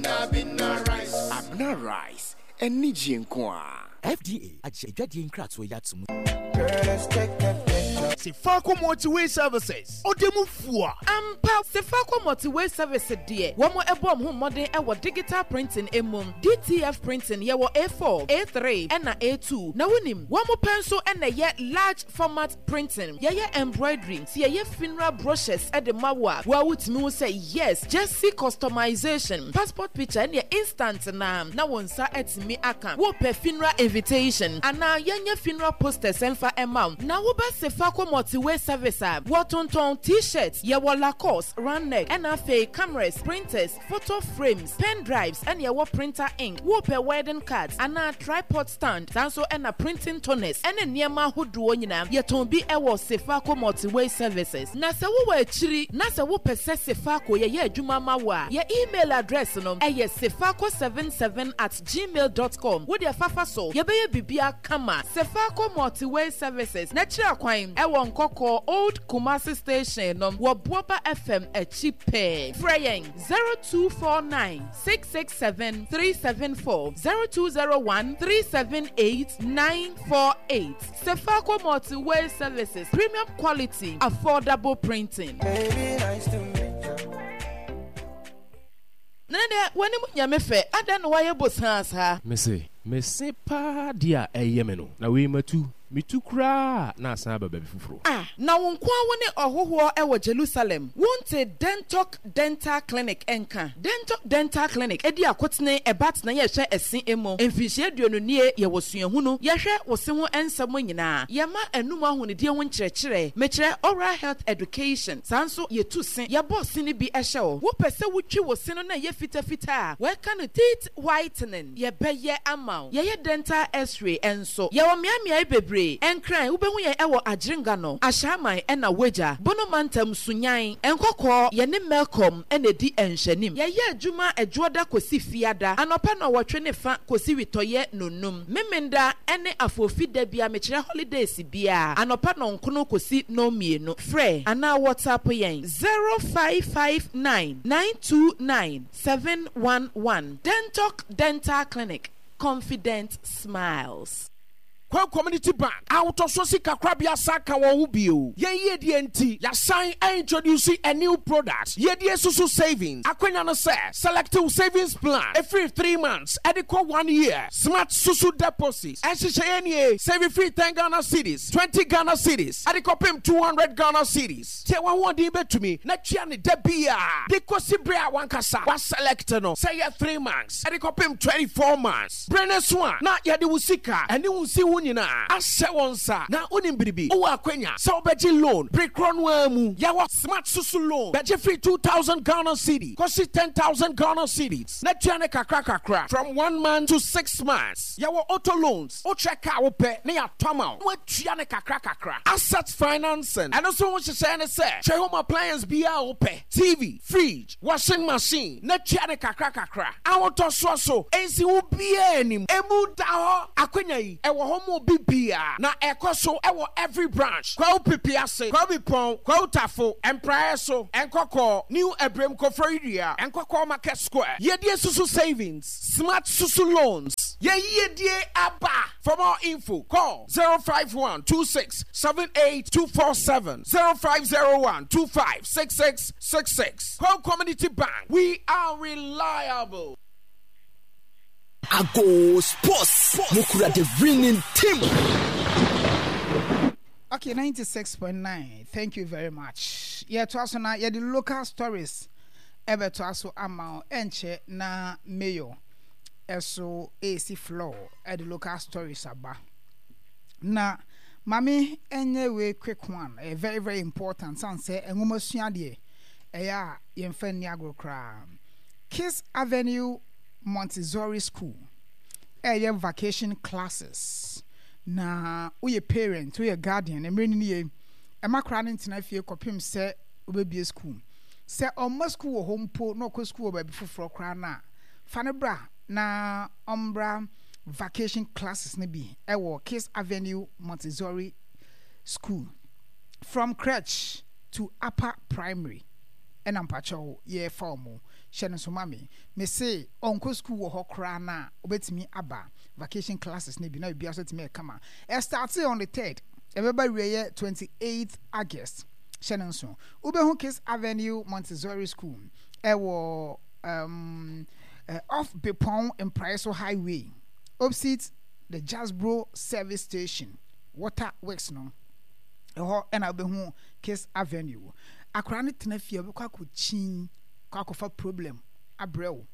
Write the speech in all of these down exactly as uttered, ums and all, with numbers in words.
Abena, Abena rice. Abena rice, anigye nko a. F D A agye adwadeɛ nkratoɔ yi ato mu. Girl, let's take a picture. Sefako Multiway Services ɔde mu fua. Ampa, Sefako Multiway Service deɛ, wɔn ɛbɔ wɔn ho mmɔden ɛwɔ digital printing emu, D T F printing. Yɛwɔ A four, A three ɛna A two. Na wonim wɔn pɛ nso ɛna ɛyɛ large format printing. Yɛyɛ embroidery si, yɛyɛ funeral brochures ɛde ma wo a wɔa wotumi ho sɛ yes, jersey customization, passport picture ɛne instant na na wɔn nsa ɛtumi aka. Wopɛ funeral invitation anaa yɛnyɛ funeral posters ɛmfa ɛma wo. Na woba Sefako Multiway Service a, wɔtontɔn T-shirt. Yɛwɔ Lacoste, round neck, ɛna afei cameras, printers, photo frames, pen drives, ɛna yɛwɔ printer ink. Wopɛ wedding cards anaa tripod stand, saa nso ɛna printing toners ɛne nneɛma ahodoɔ nyinaa, yɛtɔn bi ɛwɔ Sefako Multiway Services. Na sɛ wowɔ akyiri na sɛ wopɛ sɛ Sefako yɛyɛ adwuma ma wo a, yɛ email address no ɛyɛ sefako seven seven at gmail dot com. Wode fafa so, yɛbɛyɛ biribiara kama. Sefako Multiway Services n'akyiri akwan ɛwɔ Nkɔkɔɔ Old Kumasi Station no, wɔ Boaba F M akyi pɛɛ. Frɛ yɛn zero two four nine six six seven three seven four, zero two zero one three seven eight nine four eight. Sefako Multiway Services, premium quality, affordable printing. Baby, nice to meet you. Na deɛ w'anim nyame fɛ adan na wayɛ bosaa saa. Mese mese paa deɛ a ɛyɛ me no na wei matu metu koraa na asan aba baabi foforɔ. Ah, na wo nko a wo ne ɔhohoɔ ɛwɔ Jerusalem wonte Dentok Dental Clinic ɛnka? Dentok Dental Clinic ɛdi akotene ɛba tena yɛhwɛ ɛse emu mfinhyia aduonu nie. Yɛwɔ suahunu, yɛhwɛ wo se ho nsɛm nyinaa, yɛma anum ahonidie ho nkyerɛkyerɛ, mekyerɛ oral health education. Saa nso yɛtu se, yɛbɔ se no bi ɛhyɛ wo. Wopɛ sɛ wotwi wo se no na ɛyɛ fitafita a wɔɛka no teeth whitening, yɛbɛyɛ ama wo. Yɛyɛ dental X-ray nso. Yɛwɔ mmeammea bebree. Ɛnkran, wobɛhu yɛn ɛwɔ Agyerenga no, Ahyɛaman ɛna Wagya Bono Mantam, Sunyan, Nkɔkɔɔ. Yɛne Melcom ɛna edi nhwɛnim. Yɛyɛ adwuma Ɛdwoɔda kɔsi Fiada anɔpa na ɔwɔtwe ne fa kɔsi witɔyɛ nonum. Memenda ɛne Afofi da bia, mekyerɛ holidays bia, anɔpa nɔnkono kɔsi nɔnmienu. Frɛ anaa WhatsApp yɛn zero five five nine nine two nine seven one one. Dentok Dental Clinic, confident smiles. Kwan Community Bank ahotɔso sika korabea sa ka wɔn ho bio. Yɛn yiedie nti, yɛasan introduce a new product, Yiedie Susu Savings. Akwanya no sɛ selective savings plan ɛfiri three months ɛde kɔ one year. Smart Susu Deposit ɛnhyehyɛ yɛn nie: save firi ten Ghana cedis, twenty Ghana cedis, ɛde kɔpem two hundred Ghana cedis. Tie, wɔn ahoɔden bɛtumi na tua ne da bia de kɔsi bere a wankasa waselect no, sɛ yɛ three months ɛde kɔpem twenty four months. Bere ne so a na yɛde wo sika ɛne wo nsi ho nyinaa ahyɛ wɔn nsa. Na wonim biribi, wowɔ akwanya sɛ wobɛgye loan bere korɔ no ara mu. Yɛwɔ Smart Susu Loan, bɛgye firi two thousand Ghana cedi kɔsi ten thousand Ghana cedis na tua ne kakra kakra from one month to six months. Yɛwɔ auto loans, wokyɛ kaa wopɛ ne yɛatɔ ama wo na woatua ne kakra kakra. Asset financing, ɛno nso ho hyehyɛ ne sɛ hwɛ home appliance biara a wopɛ, T V, fridge, washing machine, na tua ne kakra kakra. Ahotɔsoɔ so ɛnsi wo biara anim, emu da hɔ. Akwanya yi ɛwɔ hɔ ma obi biara na ɛkɔ so ɛwɔ every branch: Kwawu Pipi Ase, Kwawu Bipɔn, Kwawu Tafo, Mpraeɛ so, Nkɔkɔɔ, New Ebrem, Koforidua, Nkɔkɔɔ Market Square. Yɛdie Susu Savings, Smart Susu Loans, yɛyiedie aba. For more info, call zero five one two six seven eight two four seven, zero five zero one two five six six six six. Kwawu Community Bank, we are reliable. Ago Sports, mukura the winning team. Okay, ninety-six point nine. Thank you very much. Yɛtoa so na yɛde local stories ɛbɛtoa so ama wo. Ɛnkyɛ na mayor ɛso ɛresi floor ɛde local stories aba. Na maame ɛnyɛ wei quick one, ɛyɛ very very important, san sɛ nwoma sua deɛ, ɛyɛ a yɛmfa nni agorɔ koraa. Kiss Avenue Montessori School ɛyɛ vacation classes. Na woyɛ parent, woyɛ guardian, mmerɛ no nie, ɛma koraa no ntena fie kɔpem sɛ wobɛbie school. Sɛ ɔmma school wɔ hɔ mpo na ɔkɔ school wɔ baabi foforɔ koraa no a, fa no bra na ɔmbra vacation classes no bi ɛwɔ Kiss Avenue Montessori School. From crèche to upper primary ɛna mpakyɛw yɛfa wɔn. Hyɛ no nso ma me. Mese ɔnkɔ school wɔ hɔ koraa na obetumi aba vacation classes ne bi na biribiara so tumi ɛkama. Ɛstart on the third, ɛbɛba wieɛ twenty-eighth August. Hyɛ no nso. Wobɛhu Kiss Avenue Montessori School ɛwɔ um, uh, off Bepong Mpraeso Highway, opposite the Jasbro service station, Water Works no. Ɛhɔ ɛna wobɛhu Kiss Avenue. Akwaraa no tena fie a, wobɛkɔ akɔkyin kɔ akɔfa problem abrɛ wo,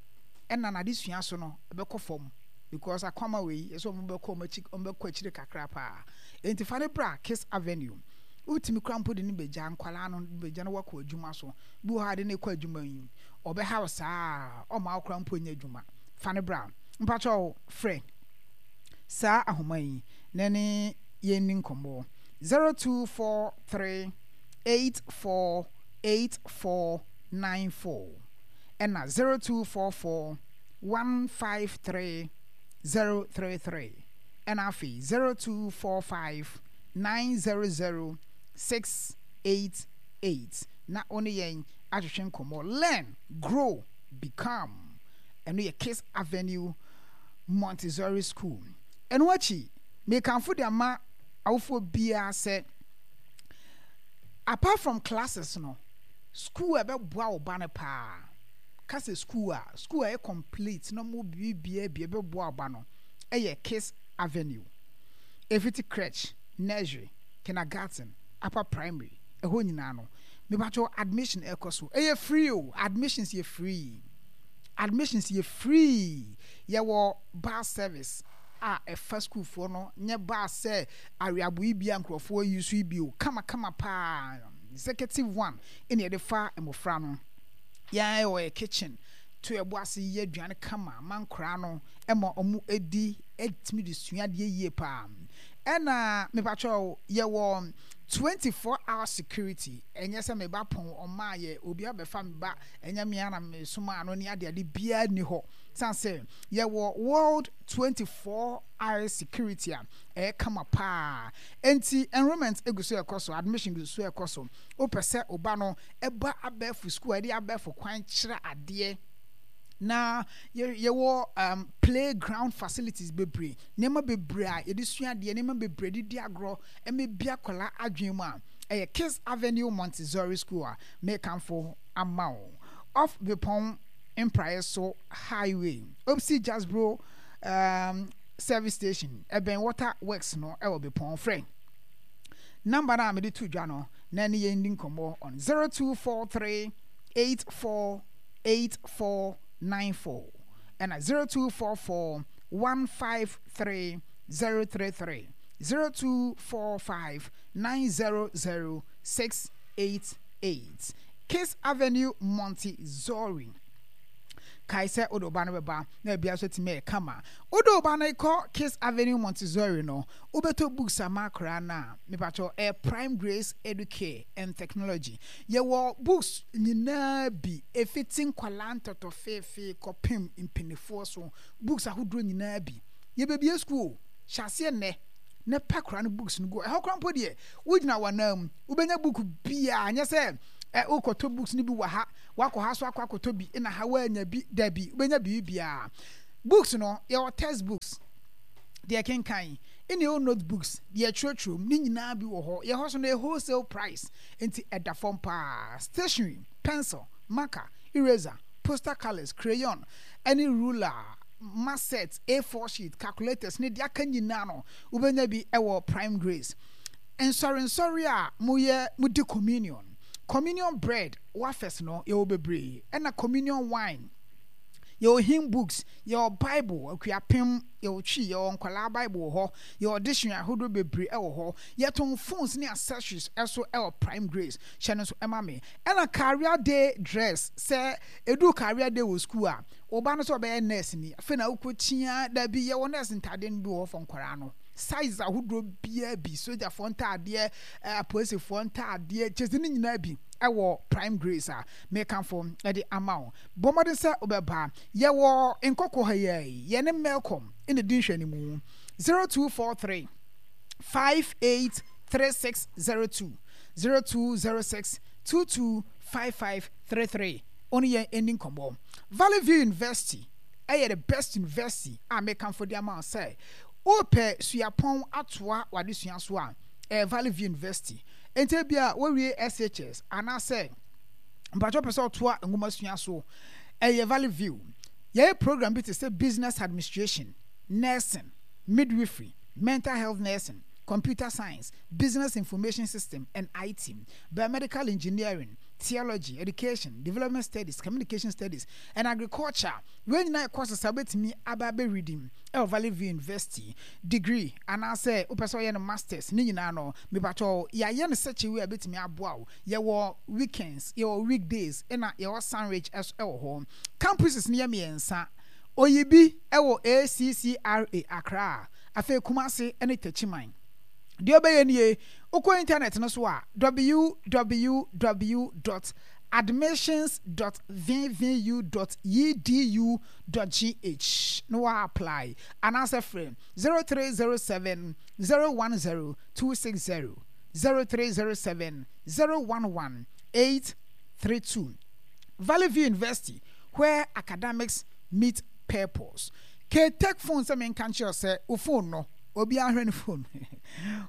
ɛna n'adesua so no ɛbɛkɔ fam because akwama wei yɛsɛ ɔmo bɛkɔ ɔmo akyi, ɔmo bɛkɔ akyire kakra paa. Enti fa ne bra Kiss Avenue. Wotumi kora mpo de ne bɛgya nkwalaa no, bɛgya no wakɔ adwuma so. Bi wɔ hɔ a de ne kɔ adwuma yi, ɔbɛha wo saa, ɔma wo kora mpo nyɛ adwuma. Fa ne bra. Mpakyɛw, frɛ saa ahoma yi na ne yɛn ni nkɔmmɔ: zero two four three eight four eight four nine four ɛna zero two four four one five three zero three three, ɛna afei zero two four five nine zero zero six eight eight na wo ne yɛn ahwehwɛ nkɔmmɔ. Learn, grow, become. Ɛno yɛ Kiss Avenue Montessori School. Ɛno akyi, mekamfo de ama awofoɔ biara sɛ apart from classes no, school a ɛbɛboa wo ba no paa kasa, school a school a ɛyɛ complete na mo biribiara bi ɛbɛboa wo ba no, ɛyɛ Kiss Avenue. Efiti crèche, nursery, kindergarten, upper primary, ɛhɔ nyinaa no, mebatwɛ admission ɛkɔ so, ɛyɛ free o. Admissions yɛ free, admissions yɛ free. Yɛwɔ bus service a ɛfa sukuufoɔ no, nyɛ bus sɛ aweabo yi bi a nkurɔfoɔ yi so yi bi o, kamakama paa, executive one ɛna yɛde fa mmɔfra no. Yɛn wɔ yɛ kitchen to ɛbo ase yɛ aduane kama ma nkoraa no, ɛma ɔmo edi, ɛtumi de sua adeɛ yie paa. Ɛna mepatwɛw, yɛwɔ twenty four hour security. Ɛnyɛ sɛ meba pɔn ɔmaa yɛ obi abɛfa me ba, ɛnyɛ mmea na mesoma ano ne adeade biara ni hɔ, san sɛ yɛwɔ world twenty four hour security a ɛyɛ kama paa. Nti enrollment egu so ɛkɔ so, admission gu so ɛkɔ so. Wopɛ sɛ ɔba no ɛba abɛɛfo school a yɛde abɛɛfo kwan kyerɛ adeɛ na yɛwɔ um, playground facilities bebree, nneɛma bebree a yɛde sua adeɛ, nneɛma bebree de di agorɔ, ɛmɛ bi akwadaa adwene mu a, ɛyɛ Kiss Avenue Montessori School a mekanfo ama wo, off Bepɔn Mpraeɛ so Highway, opposite Jasbro um, service station, ɛbɛn Water Works no, ɛwɔ Bepɔn. Frɛ number no a mede to dwa no na ne yɛn di nkɔmmɔ on zero two four three eight four eight four nine four ɛna zero two four four one five three zero three three, zero two four five nine zero zero six eight eight. Kiss Avenue Montessori. Kae sɛ wode wo ba no bɛba na bia so tumi yɛ kama. Wode wo ba no kɔ Kiss Avenue Montessori no, wobɛtɔ books ama akwaraa no a, mepakyɛw, ɛyɛ Prime Grace Educare and Technology. Yɛwɔ books nyinaa bi, ɛfiti nkwalaa ntɔtɔfeefee kɔpem mpanimfoɔ so, books ahodoɔ nyinaa bi. Yɛbɛbie school hyɛ aseɛ nnɛ na pɛ akwaraa no books no gu ɛhɔ koraa mpo deɛ, wogyina w'anan mu wobɛnya book biaa. Nyɛ sɛ ɛ wokɔtɔ books no bi wɔ ha, wakɔ ha so akɔ akɔtɔ bi na ha woanya bi. Dabi, wobɛnya biribiaa. Books no, yɛwɔ text books deɛ kenkan, ɛne ɛwɔ notebooks deɛ twerɛtwerɛ mu ne nyinaa bi wɔ hɔ. Yɛ hɔ so no yɛ wholesale price, nti ɛda fam paa. Stationery, pencil, marker, eraser, poster colours, crayon ɛne ruler, math set, A four sheet, calculators ne deɛ aka nyinaa no, wobɛnya bi ɛwɔ Prime Grace. Nsɔrensɔre a moyɛ, modi communion, communion bread, wafers no, yɛwɔ bebree, ɛna communion wine. Yɛwɔ hymn books, yɛwɔ Bible Akuapem, yɛwɔ Twi, yɛwɔ nkwalaa Bible wɔ hɔ, yɛwɔ dictionary ahodoɔ bebree ɛwɔ hɔ. Yɛtɔn phones ne accessories ɛso ɛwɔ Prime Grace. Hyɛ no nso ɛma me. Ɛna career day dress, sɛ edu career day wɔ school a, ɔba no sɛ ɔbɛyɛ nurse ni, afei na wokɔ tia dabi, yɛwɔ nurse ntaadeɛ no bi wɔ hɔ fɔ nkwaraa no, size ahodoɔ biara bi, sogyafoɔ ntaadeɛ, ɛɛ apolisifoɔ ntaadeɛ, kyɛ ne nyinaa bi ɛwɔ Prime Grace a mekanfo ɛde ama wo. Bɔ mmɔden sɛ wobɛba. Yɛwɔ Nkɔkɔ ha yi, yɛne Melcom ɛna di nhwɛnimu. zero two four three five eight three six zero two, zero two zero six two two five five three three. Wo ne yɛn nni nkɔmmɔ. Valley View University yɛ the best university a mekamfo de ama wo sɛ wopɛ suapɔn atoa w'adesua so a, ɛyɛ Valley View University. Enti ebia woawie S H S anaasɛ mpakyɛ wopɛ sɛ ɔtoa nwomasua so, ɛyɛ Valley View. Yɛyɛ program bi te sɛ Business Administration, Nursing, Midwifery, Mental Health Nursing, Computer Science, Business Information System and I T, Biomedical Engineering, Theology, Education, Development Studies, Communication Studies, and Agriculture. Wei nyinaa yɛ courses a wobɛtumi aba abɛredi ɛwɔ Valley View University. Degree anaasɛ wopɛ sɛ ɔyɛ no masters ne nyinaa no, mepakyɛw, yɛayɛ no such a way a ɛbɛtumi aboa wo. Yɛwɔ weekends, yɛwɔ weekdays, ɛna yɛwɔ sandwich ɛso ɛwɔ hɔ. Campuses no yɛ mmiɛnsa. Oyibi ɛwɔ A C C R A Accra, afei Kumase ne Techiman. Deɛ ɔbɛyɛ nie, wokɔ internet no so a, W W W dot admissions dot V V U dot edu dot G H na wa apply anaasɛ frɛ zero three zero seven zero one zero two six zero, zero three zero seven zero one one eight three two. Valley View University, where academics meet purpose. K-Tech Phone sɛ menka nkyerɛ sɛ wo phone no, obi ahwɛ ne phone,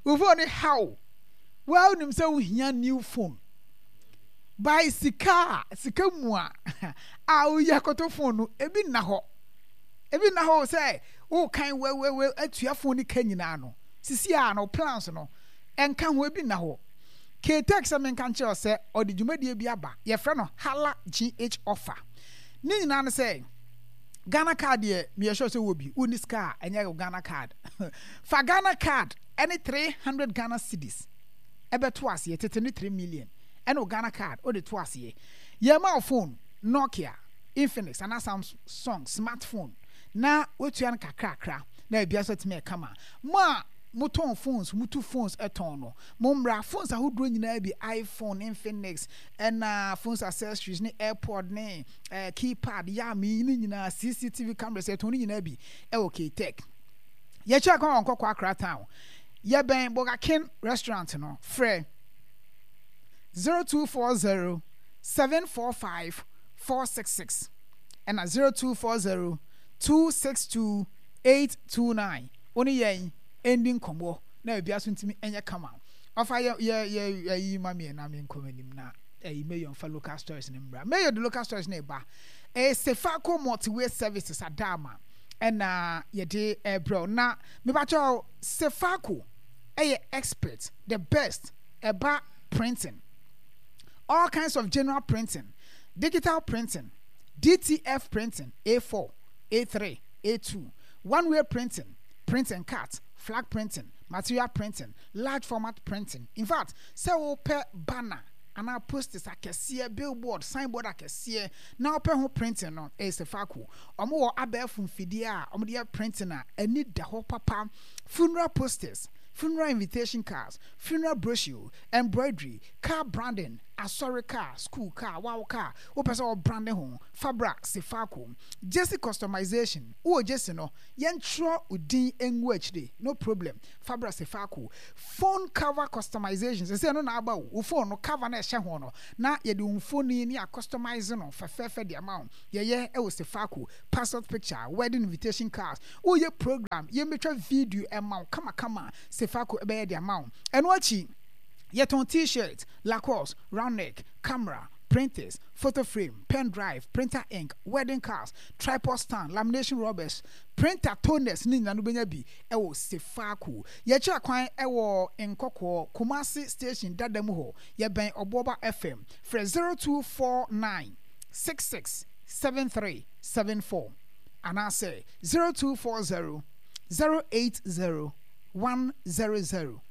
wo phone no how well nim sɛ wohia new phone by sika a sika mu a a woyi akɔtɔ phone no, ebi nna hɔ, ebi nna hɔ sɛ wokan wɛwɛwɛ atua phone no ka nyinaa no sisi a no plans no ɛnka ho, ebi nna hɔ. K-Tech sɛ menka nkyerɛ sɛ ɔde dwumadie bi aba, yɛfrɛ no Hala G H offer. Ne nyinaa no sɛ Ghana Card deɛ, meyɛ sure sɛ wɔ bi wonni sika a ɛnyɛ Ghana Card. Fa Ghana Card ɛne three hundred Ghana cedis ɛbɛto aseɛ, tete ne three million ɛne wo Ghana Card wode to aseɛ, yɛma wo phone, Nokia, Infinix anaa Samsung smartphone, na woatua no kakrakra na ebia so atumi ɛkama. Mo a motɔn phones, mutu phones ɛtɔn no, mo mmra. Phones ahodoɔ nyinaa bi, iPhone, Infinix, ɛna phones accessories ne AirPod ne eh, keypad yam ne nyinaa, C C T V cameras, yɛtɔn ne nyinaa bi ɛwɔ K-Tech. Yɛkyɛ kwan wɔ Nkɔkɔ Accra Town, yɛbɛn Burger King restaurant no. Frɛ zero two four zero seven four five four six six ɛna zero two four zero two six two eight two nine. Wo ne yɛn ɛndi nkɔmmɔ na ebia so ntumi ɛnyɛ kama. Ɔfa yɛ yɛ yɛ ɛyi ma miɛ na mi nkɔm anim na ɛyi mayor nfa local stories ne mbra. Mayor de local stories ne ba. Ɛyɛ Sefaco Multiway Services Adama ɛna yɛde ɛbrɛw na mebakyɛw, Sefaco ɛyɛ expert, the best ɛba printing, all kinds of general printing, digital printing, D T F printing, A four, A three, A two, one way printing, print and cut, flag printing, material printing, large format printing. In fact, sɛ wopɛ banner anaa posters akɛseɛ, billboard, signboard akɛseɛ na wopɛ ho printing no, ɛyɛ Sefaco. Ɔmo wɔ abɛɛfo mfidie a ɔmo de yɛ printing a ani da hɔ papa. Funeral posters, funeral invitation cards, funeral brochure, embroidery, car branding, asɔre car, school car, wow car, wopɛ sɛ ɔbrande ho, fabra Sefaco. Jersey customization, wowɔ jersey no, yɛntwerɛ wo din ngu akyire, no problem, fabra Sefaco. Phone cover customization, sɛ sɛ no na aba wo wo phone no cover na ɛhyɛ ho no na yɛde wo mfoni ne acustomize no fɛfɛɛfɛ de ama wo, yɛyɛ ɛwɔ Sefaco. Passport picture, wedding invitation cards, woyɛ program, yɛmbɛtwa video ɛma wo kamakama, Sefaco ɛbɛyɛ de ama wo. Ɛno akyi, yɛtɔn T-shirt, Lacoste, round neck, camera, printers, photo frame, pen drive, printer ink, wedding cards, tripod stand, lamination rubbers, printer toners ne nyinaa no bɛnya bi ɛwɔ Sefaco. Yɛkyerɛ kwan ɛwɔ Nkɔkɔɔ, Kumasi station dada mu hɔ, yɛbɛn Ɔboɔba F M. Frɛ zero two four nine six six seven three seven four anaasɛ zero two four zero zero eight zero one zero zero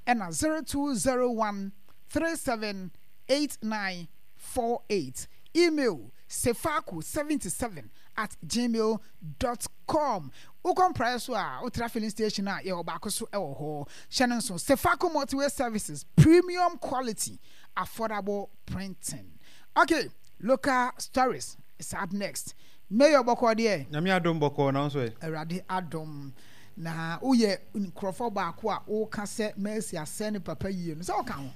ɛna zero two zero one three seven eight nine four eight. Email sefaco seventy-seven at gmail dot com. Wokɔ Mpraeɛ so a, wotra filling station a yɛwɔ baako so wɔ hɔ. Hyɛ no nso, Sefaco Multiway Services, premium quality, affordable printing. Okay, local stories is up next. Mayor, bɔkɔ deɛ? Nyame adom, bɔkɔɔ. Na nso ɛ? Awurade adom. Na woyɛ nkurɔfoɔ baako a woka sɛ Mercy asɛ ne papa yie no, sɛ woka ho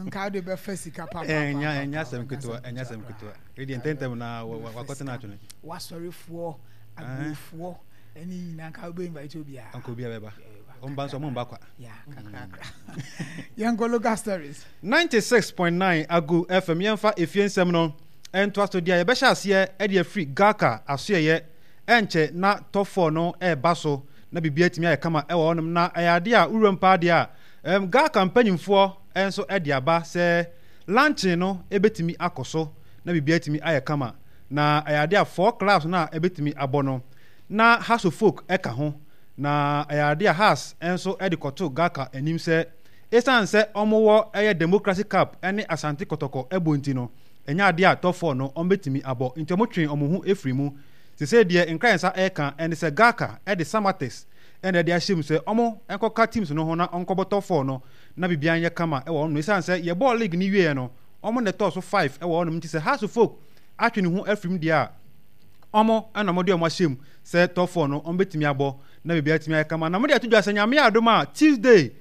nka wode bɛfa sika papa. Ɛnyɛ ɛnyɛ asɛm ketewa, ɛnyɛ asɛm ketewa. Ɛdeɛ ntɛntɛm na wakɔtena atwene. Wasɔrefoɔ, aburofoɔ ɛne nyinaa nka wobɛ invite obiara. Nka obiara bɛba. Ɔmba nso ɔmo mba kwa. Yeah, kakrakra. Yɛnkɔ local stories. ninety-six point nine Agu F M, yɛmfa efie nsɛm no ɛntoa so deɛ yɛbɛhyɛ aseɛ ɛde afiri GHALCA asoɛyɛ. Ɛnkyɛ na top four no ɛreba so na biribi atumi ayɛ kama ɛwɔ hɔnom, na ɛyɛ adeɛ a wuram paa deɛ a ɛm GHALCA mpanyinfoɔ nso ɛde aba sɛ launching no ɛbɛtumi akɔ so na biribi atumi ayɛ kama. Na ɛyɛ adeɛ a four clubs no a ɛbɛtumi abɔ no na Hearts of Oak ɛka ho, na ɛyɛ adeɛ a Hearts nso ɛde kɔto GHALCA anim sɛ ɛsiane sɛ ɔmowɔ ɛyɛ Democracy Cup ɛne Asante Kɔtɔkɔ ɛbɔ nti no, ɛnyɛ adeɛ a top four no ɔmbɛtumi abɔ, nti ɔmo twe ɔmo ho efiri mu. Sese deɛ nkran nsa ɛka ɛne sɛ GHALCA ɛde Samartex ɛna ɛde ahyɛ mu sɛ ɔmo nkɔka teams no ho na ɔnkɔbɔ top four no na biribiara nyɛ kama ɛwɔ hɔ no. Ɛsiane sɛ yɛbɔɔ league ne wieɛ no, ɔmo na ɛtɔɔ so five ɛwɔ hɔnom, nti sɛ Hearts of Oak atwe ne ho afiri mu deɛ a, ɔmo ɛna ɔmo de ɔmo ahyɛ mu sɛ top four no ɔmo bɛtumi abɔ na biribiara atumi ayɛ kama. Na mo de ato dwa sɛ Nyame adom a, Tuesday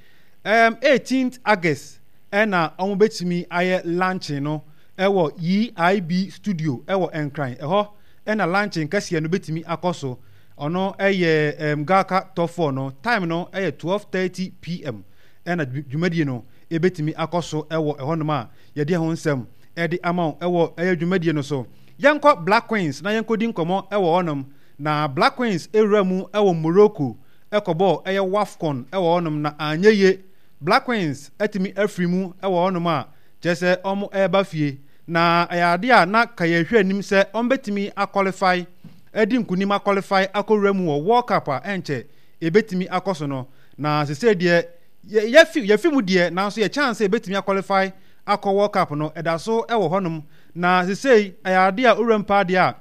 um, eighteenth August ɛna ɔmo bɛtumi ayɛ launching no ɛwɔ E I B studio ɛwɔ Nkran. Ɛhɔ ɛna launching kɛseɛ no bɛtumi akɔ so. Ɔno ɛyɛ um, GHALCA top four no time no ɛyɛ twelve thirty p m ɛna dwumadie no ɛbɛtumi akɔ so ɛwɔ ɛhɔnom a yɛde ɛho nsɛm ɛde ama wo ɛwɔ ɛyɛ dwumadie no so. Yɛnkɔ Black Queens na yɛnkɔdi nkɔmmɔ ɛwɔ hɔnom. Na Black Queens ewura mu ɛwɔ Morocco ɛkɔbɔ ɛyɛ WAFCON ɛwɔ hɔnom na anyɛ yie. Black Queens ɛtumi afiri mu ɛwɔ hɔnom a kyerɛ sɛ ɔmo ɛreba fie, na ɛyɛ adeɛ a na ka yɛhwɛ anim sɛ ɔmo bɛtumi aqualify, ɛdi nkunim aqualify akɔwura mu wɔ World Cup a ɛnkyɛ ebɛtumi akɔ so no. Na sese deɛ yɛfi yɛfi mu deɛ, nanso yɛ chance sɛ ebɛtumi aqualify akɔ World Cup no ɛda so ɛwɔ hɔnom. Na sese ɛyɛ adeɛ a owura mpa adeɛ a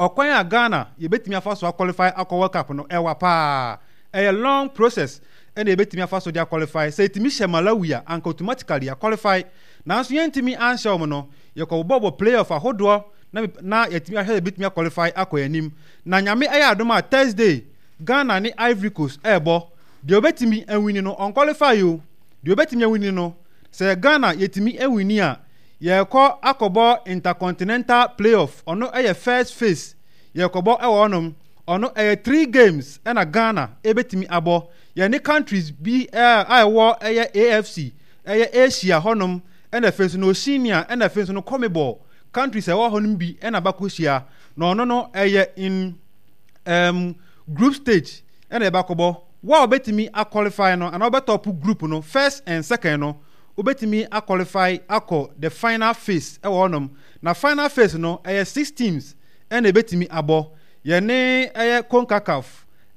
ɔkwan a Ghana yɛbɛtumi afa so aqualify akɔ World Cup no ɛwa paa. Ɛyɛ long process ɛna yɛbɛtumi afa so de aqualify. Sɛ yɛtumi hyɛ Malawi a, anka automatically aqualify, nanso yɛntumi anhyɛ wɔn no, yɛkɔbɔbɔ playoff ahodoɔ na na yɛtumi ahwɛ yɛbɛtumi aqualify akɔ yɛn anim. Na Nyame ɛyɛ adom a, Thursday Ghana ne Ivory Coast ɛɛbɔ. Deɛ obɛtumi awin no ɔnqualify o. Deɛ obɛtumi awin no, sɛ Ghana yɛtumi awin a, yɛrekɔ akɔbɔ intercontinental playoff. Ɔno ɛyɛ first phase yɛrekɔbɔ ɛwɔ hɔnom. Ɔno ɛyɛ three games ɛna Ghana ɛbɛtumi abɔ. Yɛne countries bi ɛɛ a ɛwɔ ɛyɛ A F C, ɛyɛ Asia hɔnom, ɛna afei nso no Oceania, ɛna afei nso no CONMEBOL countries a ɛwɔ hɔnom bi ɛna bakɔ hyia. Na ɔno no ɛyɛ in um, group stage ɛna ɛbakɔbɔ. Wo a wobɛtumi aqualify no anaa wobɛtop group no first and second no, wobɛtumi aqualify akɔ the final phase ɛwɔ hɔnom. Na final phase no ɛyɛ six teams ɛna ɛbɛtumi abɔ. Yɛne ɛyɛ CONCACAF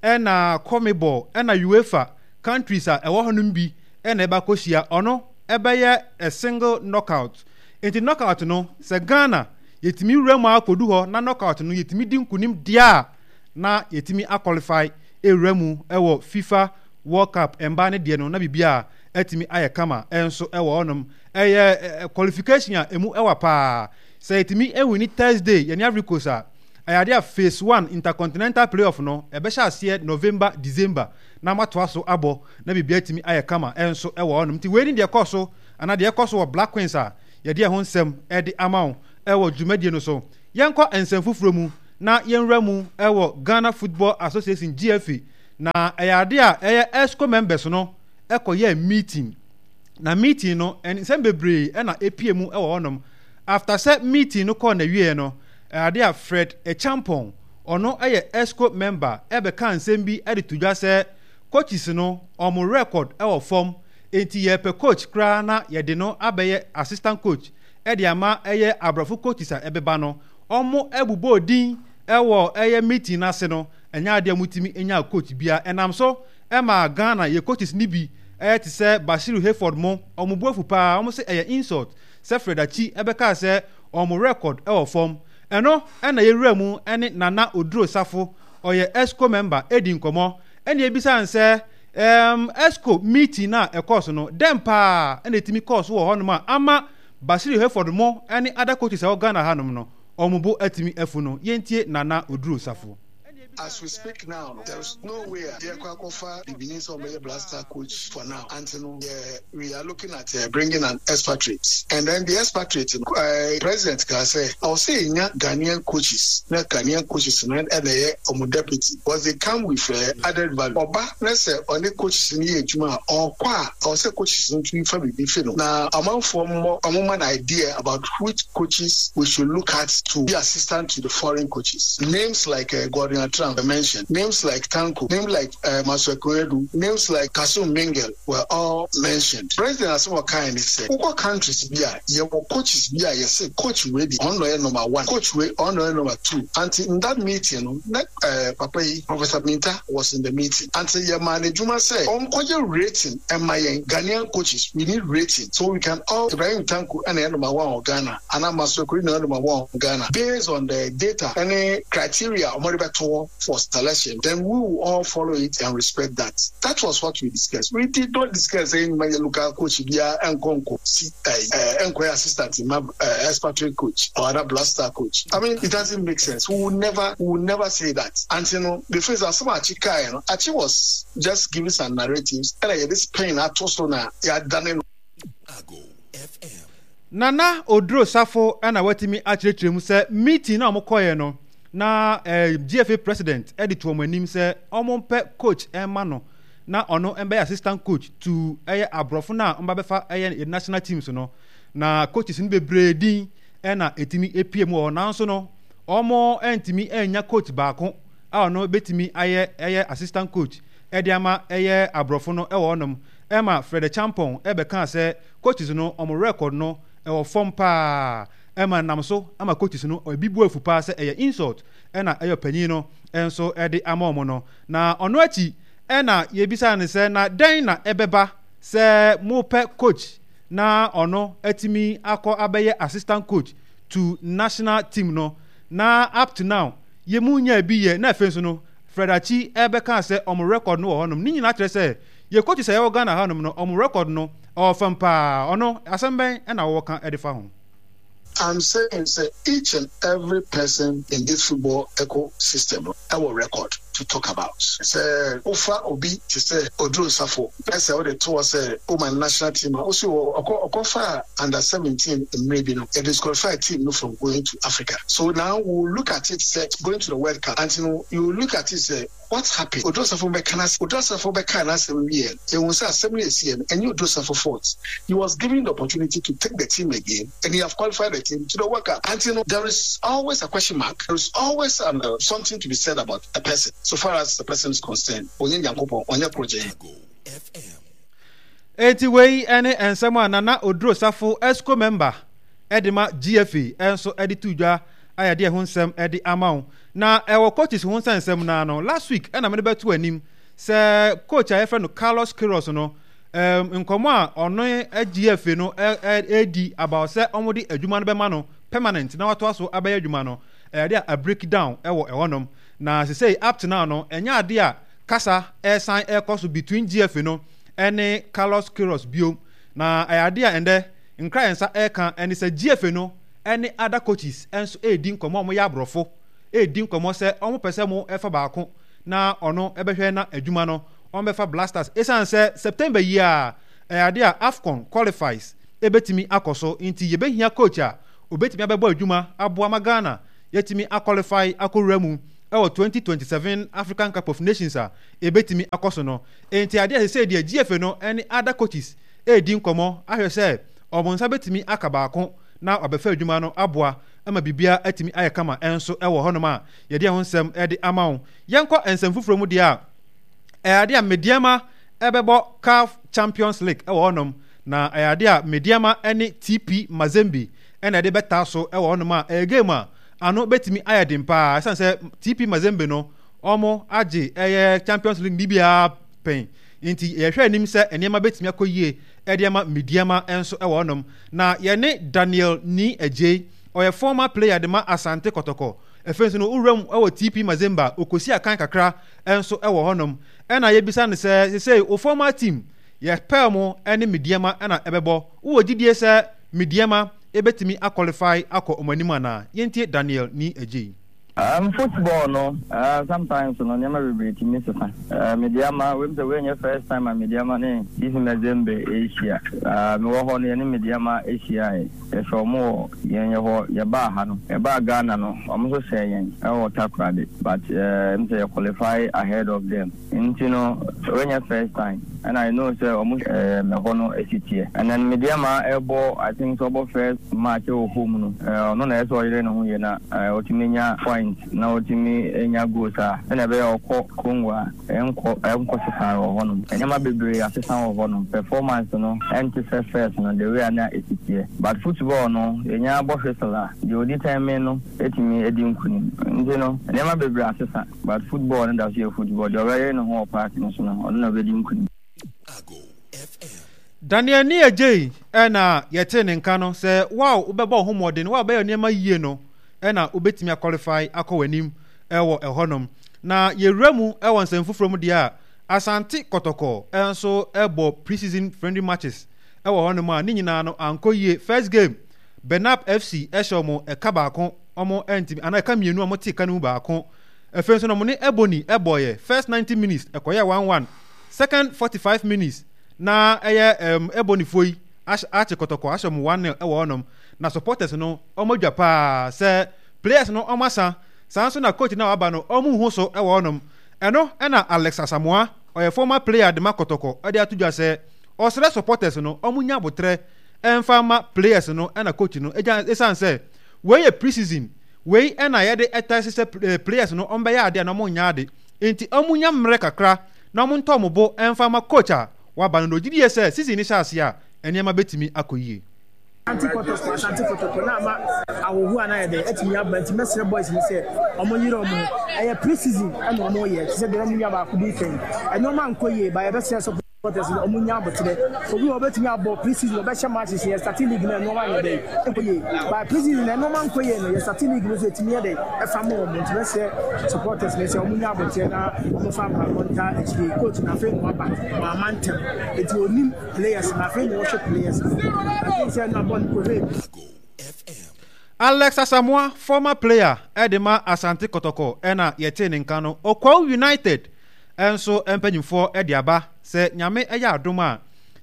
ɛna CONMEBOL ɛna UEFA countries a ɛwɔ hɔnom bi ɛna ɛba akɔhyia. Ɔno ɛbɛyɛ a single knockout. Nti knockout no, sɛ Ghana yɛtumi wura mu akɔdu hɔ na knockout no yɛtumi di nkunim deɛ a, na yɛtumi aqualify ewura mu ɛwɔ FIFA World Cup mbaa ne deɛ no na biribi a ɛtumi ayɛ kama ɛnso ɛwɔ hɔnom. Ɛyɛ qualification a emu ɛwɔ paa. Sɛ yɛtumi ewin Thursday yɛne Ivory Coast a, ɛyɛ adeɛ a phase one intercontinental playoff no ɛbɛhyɛ aseɛ November, December na matoa so abɔ na biribi atumi ayɛ kama ɛnso ɛwɔ hɔnom. Nti wei ni deɛ ɛkɔ so anaa deɛ ɛkɔ so wɔ Black Queens a yɛde ɛho nsɛm ɛde ama wo ɛwɔ dwumadie no so. Yɛnkɔ nsɛm foforɔ mu na yɛnwura mu ɛwɔ Ghana Football Association, G F A. Na ɛyɛ adeɛ a ɛyɛ EXCO members no ɛkɔyɛ meeting, na meeting no nsɛm bebree ɛna epie mu ɛwɔ hɔnom. After sɛ meeting no kɔɔ n'awieɛ no, ɛyɛ adeɛ a Fred Acheampong, ɔno ɛyɛ EXCO member, ɛbɛka nsɛm bi ɛde to dwa sɛ coaches no ɔmo record ɛwɔ fam, nti yɛpɛ coach koraa na yɛde no abɛyɛ assistant coach ɛde ama ɛyɛ aborɔfo coaches a ɛbɛba no. Ɔmo ɛbobɔ din ɛwɔ ɛyɛ meeting n'ase no, ɛnyɛ adeɛ a motumi nya coach bia. Ɛnam so ɛma Ghana yɛ coaches ni bi ɛyɛ te sɛ Bashiru Hayford mo, ɔmo bu afu paa. Ɔmo sɛ ɛyɛ insult sɛ Fred Akyi ɛbɛka sɛ ɔmo record ɛwɔ fam. Ɛno ɛna yɛwura mu ɛne Nana Oduro Safo, ɔyɛ EXCO member, ɛdi nkɔmɔ ɛna ebisa nsɛ ɛɛm EXCO meeting na ɛkɔɔ so no dɛm paa ɛna etimi kɔɔ so wɔ hɔnom a ama Bashiru Hayford mo ɛne other coaches a ɛwɔ Ghana hanom no ɔmo bo atumi afu no. Yɛntie Nana Oduro Safo. As we speak now, there is no way yɛkɔ akɔfa bibini sɛ ɔbɛyɛ Black Star coach for now. Until no, yeah, we are looking at uh, bringing an expatriate, and then the expatriate, uh, president ka sɛ ɔsɛ nya Ghanaian coaches na Ghanaian coaches na ɛna ɛyɛ ɔmo deputy, because they come with uh, added value. Ɔba na sɛ ɔne coaches no yɛ adwuma a, ɔkɔ a, ɔsɛ coaches no tumi fa biribi fi no na amanfoɔ mmɔ ɔmo ma no idea about which coaches we should look at to be assistant to the foreign coaches. Names like uh, Gordon Attram mentioned, names like Tanko, names like uh, Maxwell Konadu, names like Kasum Mingel were all mentioned. President asɛm ɔkae ne sɛ wokɔ countries bi a yɛwɔ coaches bi a yɛsɛ coach wei di ɔno yɛ number one, coach wei ɔno yɛ number two. Until in that meeting no, na uh, papa yi, Professor Minta, was in the meeting. Until yɛ maa n'adwuma sɛ ɔnkɔyɛ rating ɛma yɛn Ghanaian coaches. We need rating so we can all, Ibrahim Tanko ɛna yɛ number one wɔ Ghana ana Maxwell Konadu na yɛ number one wɔ Ghana, based on the data ɛne criteria ɔmo de bɛto hɔ for selection, then we will all follow it and respect that. That was what we discussed. We did not discuss saying my local coach bia ɛnkɔ nkɔ si ɛɛ ɛnkɔ yɛ assistant ma uh, expatriate coach or other Black Star coach. I mean, it doesn't make sense. We will never we will never say that. And you know the first asɛm Akyi kae no, Akyi was just giving some narratives ɛna yɛde Spain ato so na yɛadane no. Nana Oduro Safo ɛna watumi akyerɛkyerɛ mu sɛ meeting na ɔmo kɔɛ no na eh, G F A president ɛde to ɔmo anim sɛ ɔmo mpɛ coach ɛma no na ɔno ɛbɛyɛ assistant coach to ɛyɛ aborɔfo no a ɔmo bɛfa ɛyɛ national teams no, na coaches no bebree din ɛna ɛtumi epie mu wɔ hɔ, nanso no ɔmo ɛntumi ɛnya coach baako a ɔno bɛtumi ayɛ ɛyɛ assistant coach ɛde ama ɛyɛ aborɔfo no ɛwɔ hɔnom. Ɛma Fred Champon ɛbɛka sɛ coaches no ɔmo record no ɛwɔ fam paa, ɛma nam so ama coaches no ebi bu afu paa sɛ ɛyɛ insult ɛna ɛyɛ panyin no ɛnso ɛde ama ɔmo no. Na ɔno akyi ɛna yɛbisa ne sɛ na dɛn na ɛbɛba sɛ mopɛ coach na ɔno atumi akɔ abɛyɛ assistant coach to national team no, na up to now yɛmu nya bi yɛ? Na afei nso no Fred Akyi ɛbɛka sɛ ɔmo record no wɔ hɔnom ne nyinaa kyerɛ sɛ yɛ coaches a yɛwɔ Ghana hanom no, ɔmo record no ɛwɔ fam paa. Ɔno asɛm bɛn ɛna wɔwɔ ka ɛde fa ho? I'm saying sɛ each and every person in this football ecosystem our record to talk about. Sɛ wofa obi te sɛ Oduro Safo na sɛ wode to hɔ sɛ woma national team a wosi wɔ ɔkɔ ɔkɔfa under seventeen mmerɛ bi no, it disqualify team no from going to Africa. So now we will look at it sɛ going to the World Cup and you know, you will look at it sɛ what happened. Oduro Safo bɛka na Oduro Safo bɛka n'asɛm wie, ehu sɛ asɛm no esi yɛ no ɛnyɛ Oduro Safo fault. He was given the opportunity to take the team again and he have qualified the team to the World Cup. And you know, there is always a question mark. There is always an, uh, something to be said about a person. So far as the person is concerned, onye Nyankopɔn, onye project. Eti wei ne nsɛm a Nana Oduro Safo, exco member ɛde ma G F A, ɛnso ɛde to dwa a yɛde ɛho nsɛm ɛde ama wo. Na ɛwɔ coaches ho nsɛnsɛm naa no, last week ɛna mede bɛto anim sɛ coach a yɛfrɛ no Carlos Queiroz no, um, nkɔmɔ a ɔno G F A no ɛdi about sɛ ɔmode adwuma no bɛma no permanent na watoa so abɛyɛ adwuma no, ɛyɛ a break down ɛwɔ ɛhɔnom. Na sesei up to now no, ɛnyɛ ade a kasa ɛsan ɛkɔ so between G F A no ɛne Carlos Queiroz bio. Na ɛyɛ ade a ɛndɛ nkra yɛn nsa ɛka ɛne sɛ G F A no ɛne other coaches ɛnso ɛredi nkɔmɔ a wɔyɛ aborɔfo ɛredi nkɔmɔ sɛ wɔn pɛ sɛ mo ɛfa baako na ɔno ɛbɛhwɛ na adwuma no wɔn bɛfa Black Stars, ɛsiane sɛ September yi a ɛyɛ ade a AFCON qualifies ɛbɛtumi akɔ so, nti yɛbɛhia coach a obɛtumi abɛbɔ adwuma aboa ma Ghana yɛtumi aqualify akɔwura mu ɛwɔ twenty twenty-seven African Cup of Nations a ɛbɛtumi akɔ so no. Nti adeɛ a sɛ deɛ G F A no ɛne other coaches ɛredi nkɔmɔ ahwɛ sɛ ɔmo nsa bɛtumi aka baako na wabɛfa adwuma no aboa ama biribiara atumi ayɛ kama ɛnso ɛwɔ hɔnom a yɛde ɛho nsɛm ɛde ama wo. Yɛnkɔ nsɛm foforɔ mu deɛ a, ɛyɛ adeɛ a Medeama ɛbɛbɔ CAF Champions League ɛwɔ hɔnom, na ɛyɛ adeɛ a Medeama ɛne T P Mazembe ɛna ɛde bɛtaa so ɛwɔ hɔnom a ɛyɛ game a ano bɛtumi ayɛ den paa, ɛsiane sɛ T P Mazembe no ɔmo agye ɛyɛ Champions League biribiara pɛn, nti yɛhwɛ anim sɛ nneɛma bɛtumi akɔ yie ɛde ama Medeama nso ɛwɔ hɔnom. Na yɛne Daniel Ni Agye, ɔyɛ former player de ma Asante Kɔtɔkɔ, afei nso no wura mu ɛwɔ T P Mazembe, okosi akan kakra nso ɛwɔ hɔnom, ɛna yɛbisa no sɛ sesei o former team yɛpɛɛ mo ɛne Medeama ɛna ɛbɛbɔ, wowɔ gyidie sɛ Medeama ɛbɛtumi aqualify akɔ ɔmo anim anaa? Yɛntie Daniel Ni Agye. Um, football no, uh, sometimes no nneɛma bebree tumi sesa. Uh, Medeama, wem sɛ woanyɛ first time a Medeama ne T C Mazembe ahyia. Uh, mewɔ hɔ no, yɛne Medeama ahyia. Yɛhwɛ ɔmo wɔ yɛn yɛ hɔ, yɛbaa ha no, yɛbaa Ghana no, ɔmo nso hyɛ yɛn ɛwɔ Takoradi, but uh, m sɛ yɛ qualify ahead of them. Nti no, woanyɛ first time. And I know sɛ ɔmo uh, mɛhɔ no esi teɛ. And then Medeama ɛbɔ, I think sɛ ɔbɔ first match ɛwɔ home no, uh, ɔno na ɛsɛ ɔyere ne ho yie na uh, ɔtumi nya point na ɔtumi nya goals a ɛna ɛbɛyɛ ɔkɔ Congo a ɛnkɔ ɛnkɔ sesa wɔ hɔnom. Nneɛma bebree asesa wɔ hɔnom. Performance no ɛnte sɛ first no, the way a na esi teɛ. But football no, yɛnya bɔ whistle a, deɛ odi tɛn no etumi edi nkunim. Nti no, nneɛma bebree asesa, but football no da so yɛ football. Deɛ ɔbɛyɛ ne ho wɔ park no so no, ɔno na ɔbɛdi nkunim. Daniel Nii Adjei ɛna yɛte ne nka no sɛ wow, wobɛbɔ wo ho mmɔden, wo a wobɛyɛ nneɛma yie no ɛna wobɛtumi aqualify akɔ w'anim ɛwɔ ɛhɔnom. Na yɛwura mu ɛwɔ nsɛm foforɔ mu deɛ a, Asante Kɔtɔkɔ ɛnso ɛbɔ pre-season friendly matches ɛwɔ hɔnom a ne nyinaa no ankɔ yie. First game, Benap F C ɛhyɛ ɔmo ɛka baako, ɔmo ɛntimi anaa ɛka mmienu a ɔmo te ka no mu baako. Afei nso na ɔmo ne Ebony ɛbɔɔyɛ. First ninety minutes ɛkɔyɛ one one. Second forty five minutes na ɛyɛ ɛm Ebony foɔ yi ahyɛ akye Kɔtɔkɔ ahyɛ ɔmo one nil ɛwɔ hɔnom. Na supporters no ɔmo adwa paa sɛ players no ɔmo asa saa nso na coach na waba no ɔmo nhu so ɛwɔ hɔnom. Ɛno ɛna Alex Asamoah, ɔyɛ former player de ma Kɔtɔkɔ, ɛde ato dwa sɛ ɔsrɛ supporters no ɔmo nya abotrɛ ɛnfa ma players no ɛna coach no ɛgya, ɛsan sɛ wei yɛ pre-season. Wei ɛna yɛde ɛta sɛ players no ɔmo bɛyɛ ade a na ɔmo nya ade, nti ɔmo nya mmerɛ kakra na ɔmo ntɔ ɔmo bo ɛnfa ma coach a waba no, na ogyi die sɛ season ni hyɛ ase a nneɛma bɛtumi akɔ yie. Asante Kɔtɔkɔ, Asante Kɔtɔkɔ na ama ahohoɔ a na yɛ dɛ atumi aba, nti mɛsrɛ boys no sɛ ɔmo yere ɔmo ho. Ɛyɛ pre-season ɛna ɔmo yɛ te sɛ deɛ ɔmo nua baako bi fɛn ɛnneɛma nkɔ yie ba. Yɛbɛsrɛ supporters no ɔmo nya abotire. Obi wɔ ɔbɛtumi abɔ pre-season, ɔbɛhyɛ matches. Yɛ starting league na ɛnneɛma yɛ dɛ nkɔ yie ba. Pre-season na ɛnneɛma nkɔ yie no, yɛ starting league no so etumi yɛ dɛ ɛfa mo wɔn, nti mɛsrɛ supporters no sɛ ɔmo nya abotire na ɔmo fa mpaebɔ nta akyire coach na afei na waba wɔn ama ntɛm, eti onim players na afei na wɔhwɛ players no. I think sɛ na bɔ no kɔhwɛ bi. Alex Asamoah, former player ɛde ma Asante Kɔtɔkɔ, ɛna yɛte ne nka no. Okwawu United ɛnso mpanyinfoɔ ɛde aba sɛ Nyame ɛyɛ adom a,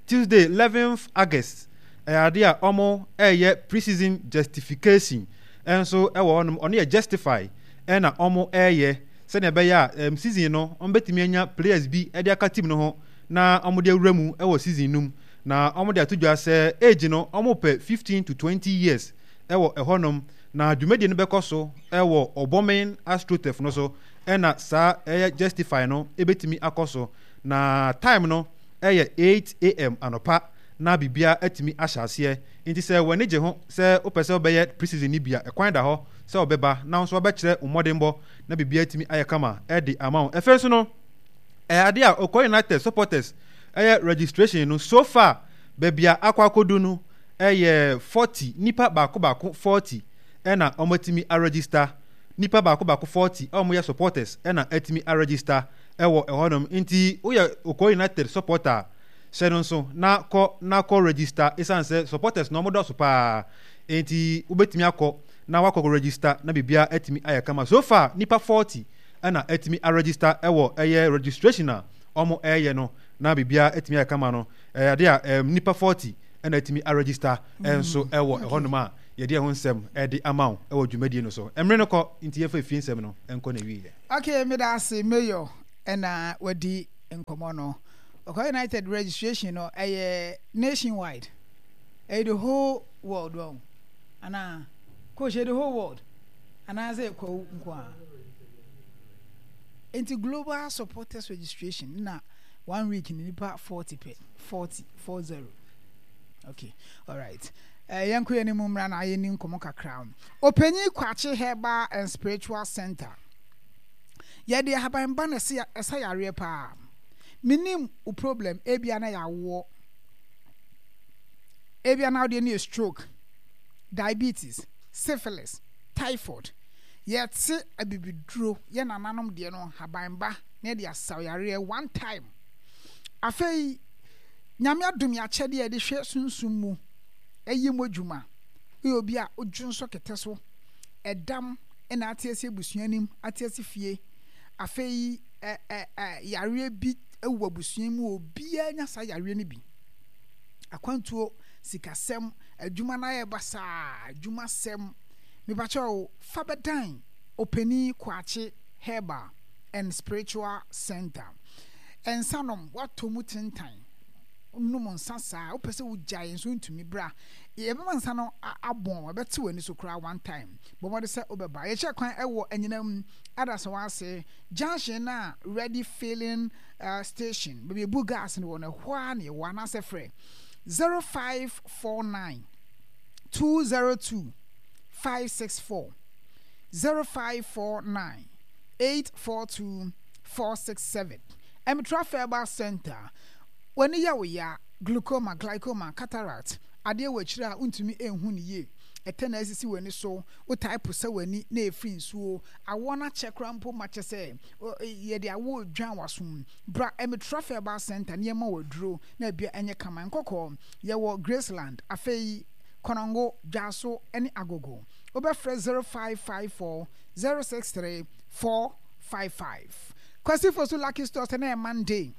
Tuesday eleventh August ɛyɛ ade a ɔmo ɛyɛ pre-season justification ɛnso ɛwɔ hɔnom. Ɔno yɛ justify ɛna ɔmo ɛyɛ sɛnea ɛbɛyɛ a ɛm season no ɔmo bɛtumi anya players bi ɛde aka team no ho na ɔmo de awura mu ɛwɔ season no mu. Na ɔmo de ato dwa sɛ age no, ɔmo pɛ fifteen to twenty years ɛwɔ ɛhɔnom. Na dwumadie no bɛkɔ so ɛwɔ Ɔbɔmen AstroTurf no so, ɛna saa ɛyɛ justify no ɛbɛtumi akɔ so. Na time no ɛyɛ eight a m anɔpa na biribiara atumi ahyɛ aseɛ. Nti sɛ w'ani gye ho sɛ wopɛ sɛ wobɛyɛ pre-season no bi a, ɛkwan da hɔ sɛ wobɛba na nso wabɛkyerɛ wo mmɔdenbɔ na biribiara atumi ayɛ kama ɛde ama wo. Ɛfɛ nso no ɛyɛ adeɛ a Okwawu United supporters ɛyɛ registration no, so far baabi a akɔ akɔdu no ɛyɛ forty, nipa baako baako forty ɛna wɔatumi aregister. Nipa baako baako forty a wɔyɛ supporters ɛna atumi aregister ɛwɔ ɛhɔnom. Nti woyɛ Okwawu United supporter a, hyɛ no nso na kɔ na kɔ register, ɛsiane sɛ supporters na wɔn dɔso paa, nti wobɛtumi akɔ na wakɔ register na biribiara atumi ayɛ kama. So far nipa forty ɛna atumi aregister ɛwɔ ɛyɛ registration a wɔn ɛyɛ no, na biribiara atumi ayɛ kama no. Ɛyɛ ade a ɛm nipa forty ɛna atumi aregister ɛnso ɛwɔ ɛhɔnom a yɛde ɛho nsɛm ɛde ama wo ɛwɔ dwumadie no so. Mmerɛ no kɔ nti yɛfa efie nsɛm no ɛnkɔ na ewie yɛ. Okay, meda ase, Mayor, ɛna wadi nkɔmmɔ no. Okwawu United registration no ɛyɛ nationwide, ɛyɛ the whole world wɔn anaa coach, ɛyɛ the whole world anaasɛ Kwawu nko a? Nti global supporters registration na one week ni nipa forty pɛ, forty, four zero. Okay, alright, uh, yɛnkɔ yɛn anim mmra na yɛni nkɔmmɔ kakra. Ɔpanyin Kwakye Herbal and Spiritual Center, yɛde ahaban na ɛsɛ ɛsa yareɛ paa. Menim wo problem, ebia na yɛawoɔ, ebia na wodeɛ no yɛ stroke, diabetes, syphilis, typhoid. Yɛte abibiduro, yɛ nananom deɛ no, haban ba na yɛde asaw yareɛ one time. Afei Nyame adom yɛ akyɛdeɛ a yɛde hwɛ sunsum mu ɛyɛ mu adwuma. Woyɛ obi a wodwo nso kɛtɛ so ɛdam Ɛna ate ase abusua nim, ate ase fie. Afei ɛ ɛ ɛ yareɛ bi wɔ abusua mu, obiara nya saa yareɛ no bi. Akwantuo, sikasɛm, adwuma no ayɛ basaa, adwumasɛm. Mepakyɛw, fa bɛdan Ɔpanin Kwakye Herbal and Spiritual Center. Nsa nom, woatɔ mu tentan, nom nsa saa, wopɛ sɛ wogyae nso wontumi, bra. Yɛbɛma nsa no abɔn, ɛbɛte w'ani so koraa one time. Bɔ mmɔden sɛ wobɛba. Yɛkyerɛ kwan wɔ Anyinam Adasawa ase junction no a Ready Filling uh, Station, baabi ebu gas no wɔ no, ɛhɔ ara na yɛwɔ, anaasɛ frɛ zero five four nine two zero two five six four zero five four nine eight four two four six seven. Ɛmitra Herbal Center, w'ani yɛ wo ya, glaucoma, glaucoma, cataract, adeɛ wɔ akyire a wontumi nhu no yie, ɛtɛ na asisi w'ani so, wotae posa w'ani na ɛfiri nsuo, awɔ no akyɛ koraa mpo ma kyɛ sɛ yɛde awɔ dwan w'asom. Bra Ɛmitra Herbal Center nneɛma wɔ aduro na ebia ɛnyɛ kama. Nkɔkɔɔ, yɛwɔ Graceland, afei Kɔnɔngo, Dwaso ne Agogo. Wobɛfrɛ zero five five four zero six three four five five. Kwasi Fosu Lucky Stores na ɛyɛ Monday.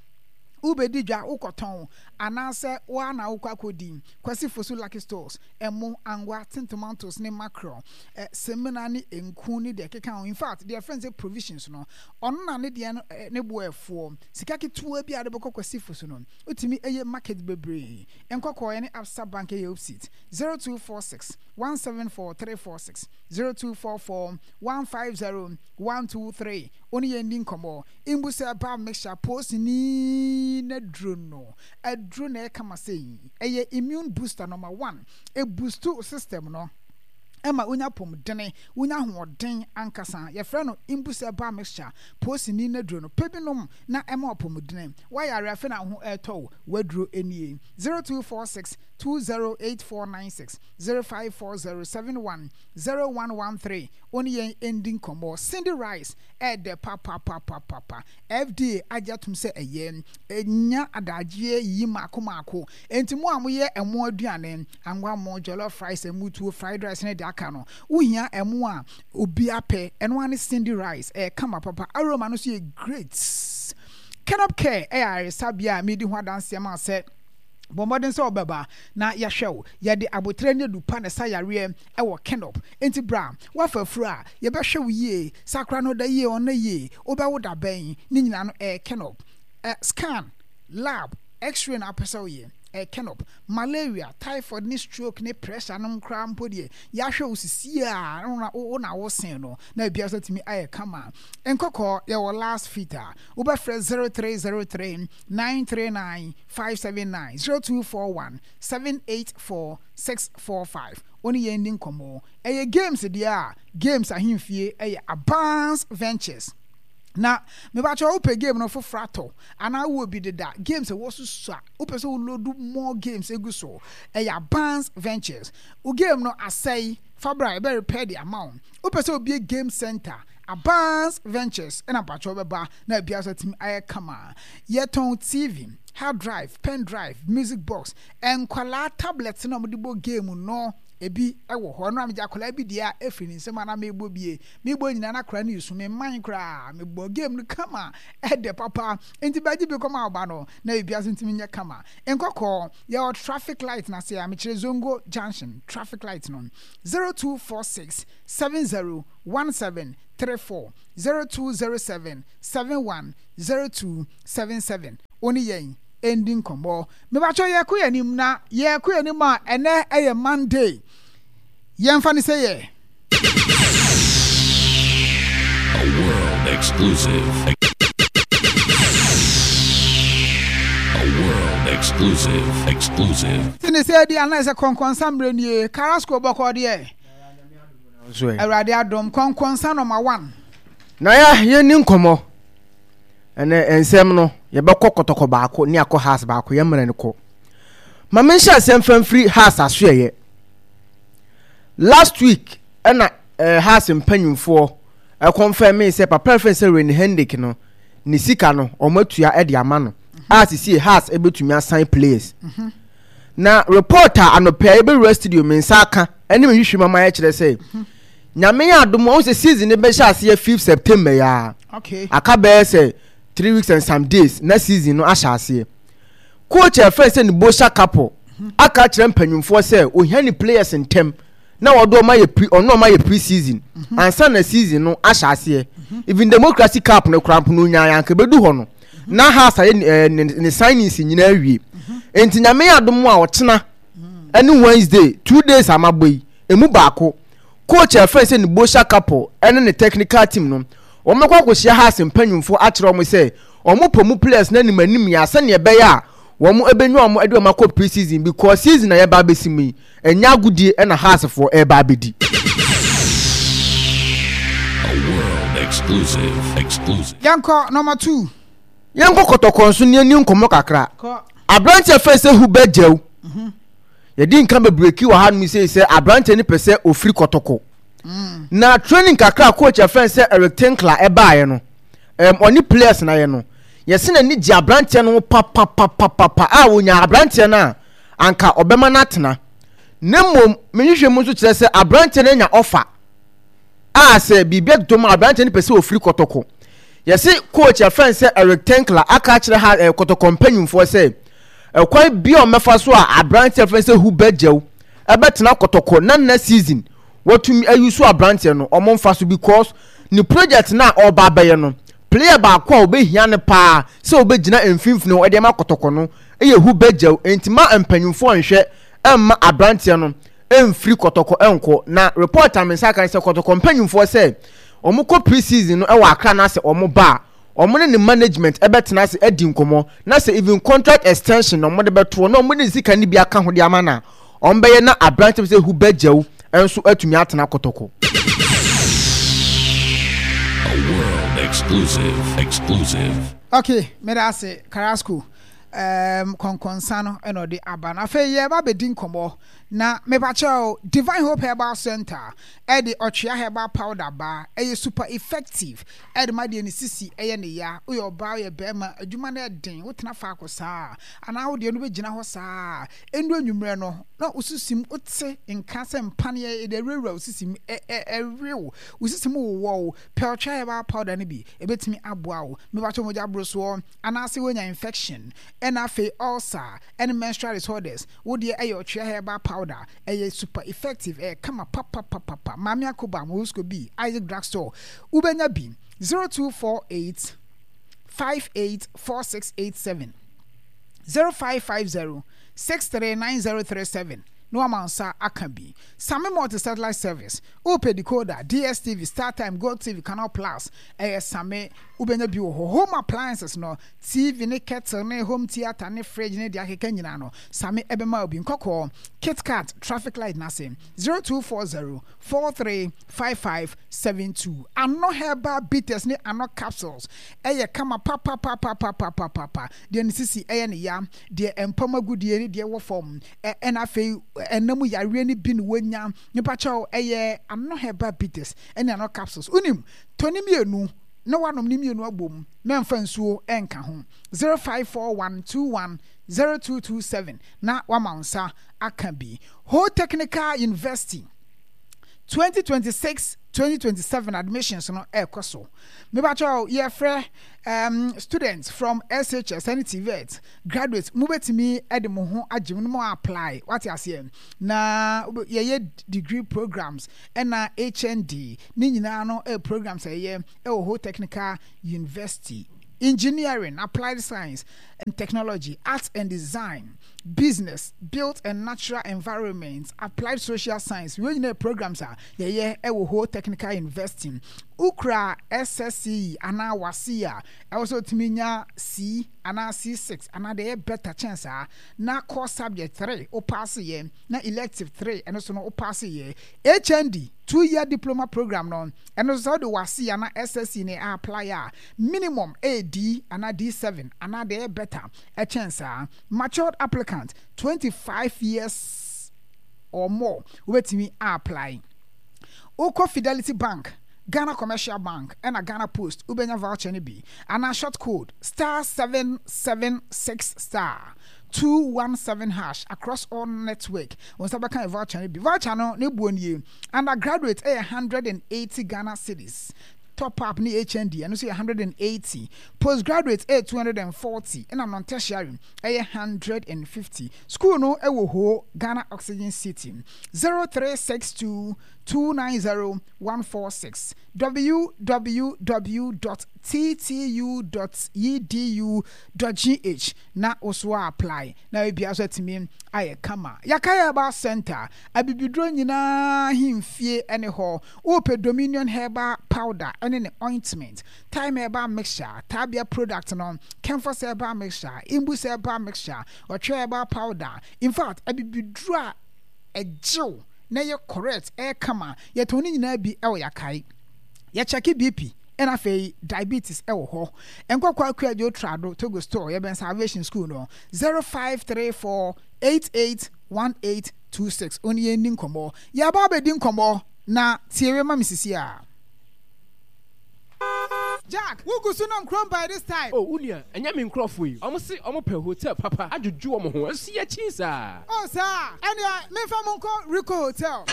Wobɛdi dwa, wokɔtɔn anaasɛ woa na wokɔ akɔdi. Kwasi Fosu Lucky Stores, ɛmo, angwa, tin tomatoes ne mackerel, eh, semina ne nku ne deɛ ɛkeka ho. In fact, deɛ ɛfrɛ no sɛ provisions no, ɔno na ne deɛ no eh, ne boɔ ɛfoɔ. Sika ketewa bi a wode bɛkɔ Kwasi Fosu no, wotumi ɛyɛ market bebree. Nkɔkɔɔ ne Absa Bank ɛyɛ opposite. zero two four six one seven four three four six zero two four four one five zero one two three. Wo ne yɛn di nkɔmmɔ. Mbusa ba mixture post ni na duro no. Aduro na ɛka ma sɛ ɛyɛ immune booster number one. E boost system no. Ɛma wonya pomdene, wonya ahoɔden ankasa. Yɛfrɛ no Mbusa ba mixture post ni na duro no. Pɛ bi nom na ɛma ɔpɔmudene. Wayare afei na ho ɛtɔ wo. Waduro nie. zero two four six two zero eight four nine six zero five four zero seven one zero one one three. Wo ne yɛn ndi nkɔmmɔ. Cindy Rice ɛɛdɛ papapapapa. F D A agye atom sɛ ɛyɛ nya adagyeɛ yiyi mako mako. Enti mo a moyɛ ɛmo aduane, angwa mo, jollof rice, ɛmutuo, fried rice ne deɛ aka no, wohia ɛmo a obi apɛ. Ɛno ara ne Cindy Rice. Ɛyɛ kama papa. Aroma no nso yɛ great. Kenop Care ɛyɛ ayaresabea a medi ho adanseɛ ma sɛ bɔ mmɔden sɛ wobɛba na yɛahwɛ wo. Yɛde abotire ne adupa na ɛsa yareɛ ɛwɔ Kenop. Enti bra, woafa afuro a, yɛbɛhwɛ wo yie. Sakra no da yie, ɔnna yie. Wobɛwo da bɛn? Ne nyinaa no ɛyɛ Kenop. Eh, scan, lab, x-ray na apɛ sɛ woyɛ. Ɛyɛ Kenop. Malaria, typhoid ne stroke ne pressure no koraa mpo deɛ, yɛahwɛ wo sisi a, wo na wo sen no, na ebia sɛ tumi ayɛ kama. Nkɔkɔɔ, yɛwɔ last fit a, wobɛfrɛ zero three zero three nine three nine five seven nine zero two four one seven eight four six four five. Wo ne yɛn di nkɔmmɔ. Ɛyɛ games deɛ a, games ahemfie ɛyɛ Advance Ventures. Na mebakyɛ wopɛ game no foforɔ atɔ anaa wowɔ bi deda, games ɛwɔ so sua, wopɛ sɛ wo load more games egu so, ɛyɛ Advance Ventures. Wo game no asɛe, fa bra ɛbɛ repair de ama wo. Wopɛ sɛ obie game center, Advance Ventures ɛna mpakyɛ wobɛba na ebia so atumi ayɛ kama. Yɛtɔn T V, hard drive, pen drive, music box, nkwalaa tablet na wɔde bɔ game no ebi ɛwɔ hɔ. Ɛno a megye akwalaa bi deɛ a efiri ne nsam a na mebɔ bie. Mebɔ nyinaa na akwadaa no yi so, me man koraa. Mebɔ game no kama, ɛdɛ papa. Nti bɛgye bi kɔma ɔba no na ebia so ntumi nyɛ kama. Nkɔkɔɔ, yɛwɔ traffic light na se a mekyerɛ Zongo Junction traffic light no. zero two four six seven zero one seven three four zero two zero seven seven one zero two seven seven. Wo ne yɛn endi nkɔmmɔ. Mebakyɛ yɛkɔ yɛn anim na yɛkɔ yɛn anim a ɛnɛ ɛyɛ Monday. Yɛmfa ne sɛ yɛ. A world exclusive. A world exclusive. Exclusive. Ti ne sɛ di anaa sɛ kɔnkɔnsa mmerɛ nie. Carrasco bɔkɔ deɛ. Awurade adom kɔnkɔnsa number one. Na ya yɛn ni nkɔmmɔ. Ɛnɛ nsɛm no yɛbɛkɔ kɔtɔkɔ baako ne akɔ house baako yɛn mmerɛ no kɔ. Ma menhyɛ asɛm fa mfiri house asoɛyɛ. Last week ɛna eh, house mpanyimfoɔ ɛkɔnfɛn me sɛ papa fɛn sɛ Rene Hendrick no ne sika no ɔmo atua ɛde ama no a sisi house ɛbɛtumi asan players. Na report a anɔpɛ a yɛbɛwura studio me nsa aka ɛne me hwehwɛ mu ama yɛkyerɛ sɛ Nyame yɛ adom a, wohu sɛ season no bɛhyɛ aseɛ fifth September yi ara. Okay. Aka bɛyɛ sɛ three weeks and some days na season no ahyɛ aseɛ. Coach a yɛfrɛ no sɛ Nebosha Kapo aka akyerɛ mpanyinfoɔ sɛ ohia ne players ntɛm na wɔde wɔn ayɛ pre ɔno wɔn ayɛ pre season mhm. ansa na season no ahyɛ aseɛ. Mhm. Even Democracy Cup no koraa mpo no onyaa anka ebedu hɔ no mhm. na Hearts ayɛ ne ne ne signings nyinaa awie. Nti Nyame yɛ adom a ɔkyena ɛne Wednesday two days amabɔ yi emu baako coach a yɛfrɛ no sɛ Nebosha Kapo ɛne ne technical team no wɔbɛkɔ akɔhyia Hearts mpanyinfoɔ akyerɛ wɔn sɛ wɔn pɛ mu players no anim anim yɛ sɛnea ɛbɛyɛ a wɔn ɛbɛnya wɔn ɛde wɔn akɔ pre-season because season a yɛba abɛsi mu yi ɛnyɛ agodie ɛna Hearts foɔ ɛreba abɛdi. A world exclusive, exclusive. Yɛnkɔ number two. Yɛnkɔ kɔtɔkɔ nso ne ani nkɔmmɔ kakra. Aberanteɛ fɛ sɛ Hubert Gyau. Mhm. Yɛdi nka bebree ki wɔ hanom sei sɛ aberanteɛ no pɛ sɛ ofiri kɔtɔkɔ. Mm. Na training kakra coach ɛfɛn sɛ Eric Tinkler ɛbaeɛ no, um, ɔne players na yɛ no, yɛse n'ani gye aberanteɛ no ho papapapapa a wɔnya aberanteɛ no a anka ɔbɛma no atena. Na mmom mehwehwɛ mu nso kyerɛ sɛ aberanteɛ no anya ɔfa a sɛ biribi atotɔ mu a aberanteɛ no pɛ sɛ ofiri kɔtɔkɔ. Yɛse coach yɛfrɛ no sɛ Eric Tinkler aka akyerɛ ha eh, kɔtɔkɔ mpanyimfoɔ sɛ ɛkwan bi a ɔmɛfa so a aberanteɛ yɛfrɛ no sɛ Hubert Gyau ɛbɛtena kɔtɔkɔ na nna season watumi ayi so aberanteɛ no ɔmo mfa so because ne project no a ɔreba abɛyɛ no player baako a ɔbɛhia no paa sɛ ɔbɛgyina mfimfini hɔ ɛde ama kɔtɔkɔ no yɛ Hubert Gyau enti ma mpanyimfoɔ nhwɛ ɛmma aberanteɛ no ɛmfiri kɔtɔkɔ ɛnkɔ na report a me nsa aka ne sɛ kɔtɔkɔ mpanyimfoɔ sɛ wɔn kɔ pre season no ɛwɔ Accra na sɛ wɔn ba a wɔn ne ne management ɛbɛtena ase adi nkɔmɔ na sɛ even contract extension na wɔn de bɛtoɔ na wɔn de ne sika no bi aka ho de ama na wɔn bɛyɛ na aberanteɛ bi sɛ Hubert Gyau nso atumi atena kɔtɔkɔ. A world exclusive, exclusive. Okay, meda ase Carrasco. Um, kɔnkɔnsa no ɛna ɔde aba no. Afei yɛba abɛdi nkɔmmɔ na mepakyɛw Divine Hope Herbal Center ɛde ɔtwea herbal powder ba ɛyɛ super effective ɛde ma deɛ ne sisi ɛyɛ ne ya woyɛ ɔbaa woyɛ bɛrima adwuma no ɛden wotena faako saa anaa wodeɛ no bɛgyina hɔ saa ɛndu anwummerɛ no na wo sisi mu wote nka sɛ mpaneɛ ɛde awurawura wo sisi mu ɛwe wo wo sisi mu wowɔ wo pɛ ɔtwea herbal powder no bi ɛbɛtumi aboa wo mepakyɛw mogya borosoɔ anaasɛ woanya infection ɛna afei ulcer ɛne menstrual disorders wo deɛ ɛyɛ ɔtwea herbal powder ɛyɛ super effective ɛyɛ kama papapapapa Maame Akoba Morosco bi Isaac Drugstore wobɛnya bi zero two four eight five eight four six eight seven zero five five zero six three nine zero three seven na wama nsa aka bi Same Multi Satellite Service wopɛ decoder D S T V StarTime GoTv Canal Plus ɛyɛ Same wobɛnya bi wɔ hɔ home appliances no T V ne kettle ne home theatre ne fridge ne deɛ akeka nyinaa no Same ɛbɛma wo bi nkɔkɔɔ KitKat traffic light n'ase zero two four zero four three five five seven two Ano herbal bitters ne ano capsules ɛyɛ kama papapapapapapapa deɛ ne sisi ɛyɛ ne ya deɛ mpam agudie ne deɛ ɛwɔ fam ɛna afei ɛnam yareɛ ne bi ne wɔnya nipa kyɛw ɛyɛ ano herbal bitters ɛne ano capsules wonim tɔ ne mmienu na wanom ne mmienu abom mɛmfa nsuo ɛnka ho zero five four one two one zero two two seven na wama wo nsa aka bi Ho Technical University twenty twenty six twenty twenty seven admissions no ɛrekɔ so mebakyɛw yɛfrɛ um, students from S H S ɛne TVET graduates mobɛtumi de mo ho agye mu no mo apply wate aseɛ na yɛyɛ degree programs ɛna H N D ne nyinaa no ɛyɛ programs a ɛyɛ ɛwɔ Ho Technical University: engineering, applied science and technology, arts and design, business, built and natural environment, applied social science. Wei nyinaa programs a yɛyɛ ɛwɔ Ho Technical University. Wokura S S C E anaa WASSCE a ɛwɔ sɛ otumi nya C anaa C six anaa deɛ ɛyɛ better kyɛn saa na core subject three wo pass yɛ na elective three ɛno so no wo pass yɛ. H N D two year diploma program no ɛno nso sɛ wode WASSCE anaa S S C E na apply a minimum ɛyɛ D anaa D seven anaa deɛ ɛyɛ better ɛkyɛn saa. Matured applicant twenty-five years or more wobɛtumi apply. Wokɔ Fidelity Bank, Ghana Commercial Bank ɛna Ghana Post wobɛnya voucher no bi anaa short code star seven seven six star two one seven hash across all network. Wɔn nsa bɛka voucher no bi. Voucher no ne buo nie. Undergraduate ɛyɛ hundred and eighty Ghana cedis. Top up ne H N D ɛno nso yɛ hundred and eighty. Postgraduate ɛyɛ two hundred and forty, ɛna non-tertiary ɛyɛ hundred and fifty. School no ɛwɔ Ho, Ghana Oxygen City. zero three six two two nine zero one four six, w w w dot t t u dot e d u dot g h na woso apply na ebia so atumi ayɛ kama. Yɛaka Herbal Center abibiduro nyinaa hemfie ne hɔ. Wopɛ Dominion Herbal Powder ɛne ne ointment, Time Herbal Mixture, Tabia product no, Kemfos Herbal Mixture, Imbus Herbal Mixture, Ɔtwe Herbal Powder, in fact abibiduro a ɛgyew na ɛyɛ correct, ɛyɛ kama, yɛtɔn ne nyinaa bi ɛwɔ Yakae. Yɛkyɛke B P ɛna afei diabetes ɛwɔ hɔ. Nkɔkɔ Akuadwo Trado Togo Store, yɛbɛn Salvation School no. zero five three four eight eight one eight two six. Oni yɛn ni nkɔmɔ, yɛaba abɛdi nkɔmɔ na tie ma me sisi a. Jack, wogu so nam kurom by this time? Oh, unia, ɛnyɛ me nkurɔfoɔ yi. Ɔmo se ɔmo pɛ hotel papa adwodwo ɔmo ho. Ɛnso yɛkyi saa. Oh saa, ɛnea memfa mo nkɔ Rico Hotel.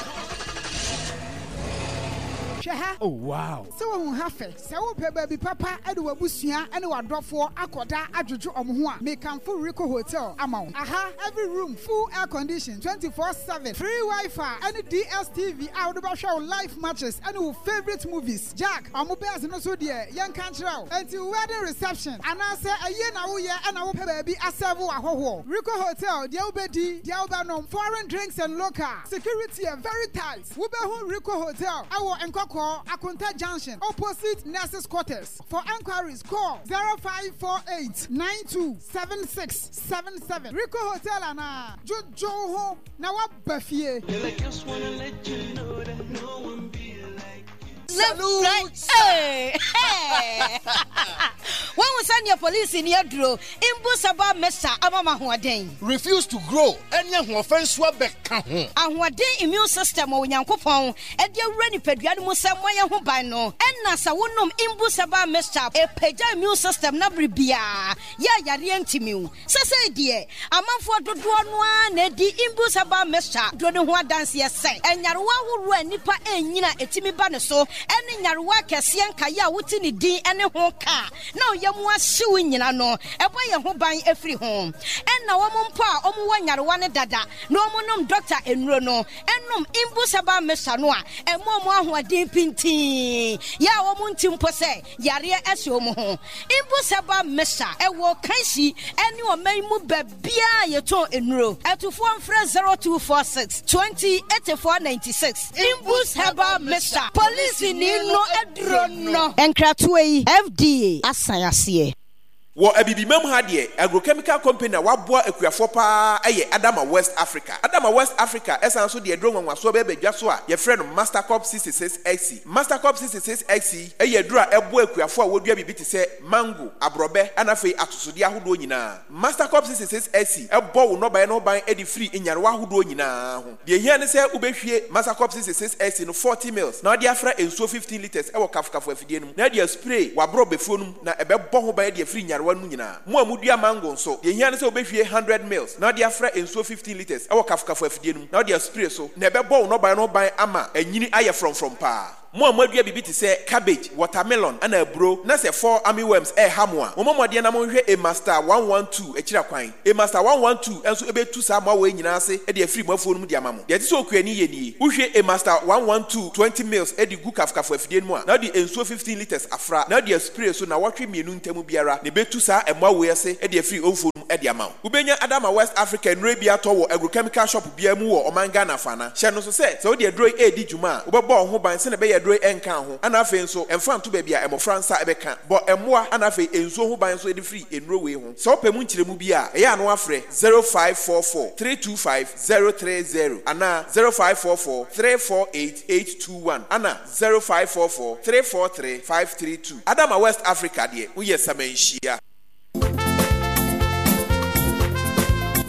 Hwɛ ha. Oh wow. Sɛ wohu ha fɛ. Sɛ wopɛ baabi papa de w'abusua ne w'adɔfoɔ akɔda adwodwo ɔmo ho a, mekamfo Rico Hotel ama wo. Aha, every room full air condition twenty-four seven, free Wi-Fi ɛne D S T V a wode bɛhwɛ wo live matches ɛne wo favourite movies. Jack, ɔmo beds no so deɛ yɛnka nkyerɛ wo. Enti wo wedding reception anaasɛ ayie na woyɛ ɛna wopɛ baabi asɛve wo ahɔhoɔ, Rico Hotel, deɛ wobɛdi, deɛ wobɛnom, foreign drinks and local. Security yɛ very tight. Wobɛhu Rico Hotel ɛwɔ Nkɔkɔɔ Akonta Junction, opposite Nurses Quarters. For enquiries, call zero five four eight nine two seven six seven seven. Rico Hotel anaa dwodwo ho na woaba fie. Salute! Hey! Hey! Wɔn sɛ nea polisi ni aduro mbu saba mesa ama ma ahoɔden. Refuse to grow ɛne ahoɔfɛ nso abɛka ho. Ahoɔden immune system wɔ Onyankopɔn ɛde awura nipadua no mu sɛ mmɔyɛ ho ban no, ɛna sɛ wonom Imbu Saba mixture, ɛpagya immune system na bere biara yɛ ayareɛ ntimiw. Sɛsɛi deɛ amanfoɔ dodoɔ no ara na ɛdi Imbu Saba mixture duro no ho adanseɛ sɛ ɛnyarewa ahoroɔ a nnipa ɛnyina ɛtumi ba ne so, ɛne nyarewa akɛseɛ nkaeɛ a wote ne din ɛne ho kaa na ɔyɛ mu ahyew nyina no, ɛbɔ yɛn ho ban afiri ho. Ɛna wɔn mpo a wɔwɔ nyarewa no dada na wɔn nom dɔkta nnuro no, ɛnom Imbu Saba mixture no a, ɛmo wɔn ahoɔden pintin yɛ a wɔn nti mpo sɛ yareɛ ɛhyɛ wɔn ho. Imbu Saba mixture ɛwɔ Kanshi ɛne ɔman mu baabiara yɛtɔn nnuro. Ɛtufoɔ mfrɛ zero two four six twenty eighty-four ninety-six. Imbus Herbal Mixture, polisi ni no aduro no. Nkratoɔ yi, F D A asan aseɛ. Wɔ Abibimam ha deɛ, agrochemical company a waboa akuafoɔ paa ɛyɛ Adama West Africa. Adama West Africa ɛsan so deɛ aduro nwanwasoɔ bɛɛ badwa so a yɛfrɛ no Mastercop sixty-six X C. Mastercop sixty-six X C ɛyɛ aduro a ɛboa akuafoɔ a wɔdua biribi te sɛ mango, aborɔbɛ, ɛna afei atosodeɛ ahodoɔ nyinaa. Mastercop sixty-six X C ɛbɔ wo nnɔbaeɛ no ho ban de firi nyarewa ahodoɔ nyinaa ho. Deɛ ehia ne sɛ wobɛhwie Mastercop sixty-six X C no forty mils na wɔde afra nsuo fifteen litres ɛwɔ kafokafo afidie no mu na ɛde spray w'aborɔbɛfuo no mu, na ɛbɛbɔ ho ban de afiri nyarewa no mu nyinaa. Mo a mudua mango nso, deɛ ehia ne sɛ wobɛhwie hundred mils na wɔde afra nsuo fifteen litres ɛwɔ kafokafo afidie no mu na wɔde spray so, na ɛbɛbɔ wo nnɔbaeɛ no ho ban ama anyini ayɛ frɔmfrɔm paa. Mo a moadua biribi te sɛ cabbage, watermelon ɛna aburo na sɛ fall armyworms ɛɛha mo a, mommɔ mmɔden na monhwɛ Emaster one one two akyira kwan. Emaster one one two nso ɛbɛtu saa mmoawa yi nyinaa ase de afiri mo afuo no mu de ama mo. Deɛ ɛte sɛ okuani yɛ nie: wohwie Emaster one one two twenty mils de gu kafokafo afidie no mu a, na wode nsuo fifteen litres afra na wode aspray so na wɔtwe mmienu ntam biara, na ɛbɛtu saa mmoawa yi ase de afiri omfuo no mu de ama wo. Wobɛnya Adama West Africa nnuro bi atɔ wɔ agrochemical shop biara mu wɔ ɔman Ghana fana. Hyɛ no so sɛ sɛ wode aduro yi ɛredi dwuma a, wobɛbɔ wo ho ban sɛnea ɛbɛyɛ aduro yi ɛnka ho, ana afei nso ɛmfa nto baabi a mmɔfra nsa ɛbɛka. Bɔ mmoa ana afei nsuo ho ban nso de firi nnuro wei ho. Sɛ wopɛ mu nkyerɛmu bi a, ɛyɛ ano afrɛ zero five four four three two five zero three zero anaa zero five four four three four eight eight two one ana zero five four four three four three five three two. Adama West Africa deɛ, woyɛ samanhyia.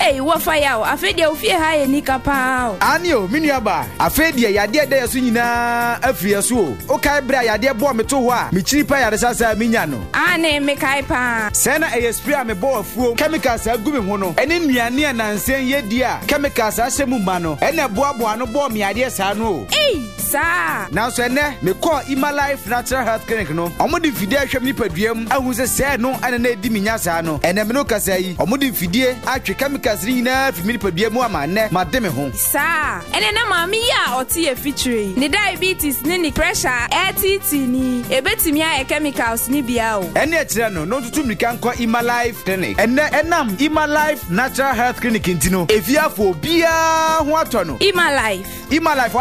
Hey, Ei, wɔfa yaw, afei deɛ ofie ha yɛ nika paa o. Aane o, me nua baa, afei deɛ yadeɛ ɛda yɛ so nyinaa afiri yɛ so o. Wokae berɛ a yadeɛ bɔɔ me too hɔ a mekyiri pɛ ayaresa saa a menya no? Aane, mekae paa. Sɛɛ na ɛyɛ spray a mebɔ wɔ afuom, chemicals a agu me ho no, ɛne nnuane a nansa yi yɛdi a chemicals ahyɛ mu ma no, ɛna ɛboaboa ano bɔɔ me yadeɛ saa no o. Ei, saa? Nanso ɛnnɛ, mekɔɔ Imalife Natural Health Clinic no, wɔde mfidie ahwɛ me nipadua mu ahu sɛ sɛɛ no na na ɛdi me nya saa no. Ɛnnɛ me ne wo kasa yi, wɔde mfidie atwe chemicals no nyinaa afi me nipadua mu ama nnɛ made me ho. Saa? Ɛnneɛ na maame yi a ɔte yɛn fikyire yi, ne diabetes ne ne pressure a ɛreteetee no yi, ɛbɛtumi ayɛ chemicals no bi ara o. Ɛnneɛ kyerɛ no na ɔntutu mmirika nkɔ Imalife Clinic. Ɛnnɛ, ɛnam Imalife Natural Health Clinic nti no, efiafo obiara ho atɔ no. Imalife. Imalife.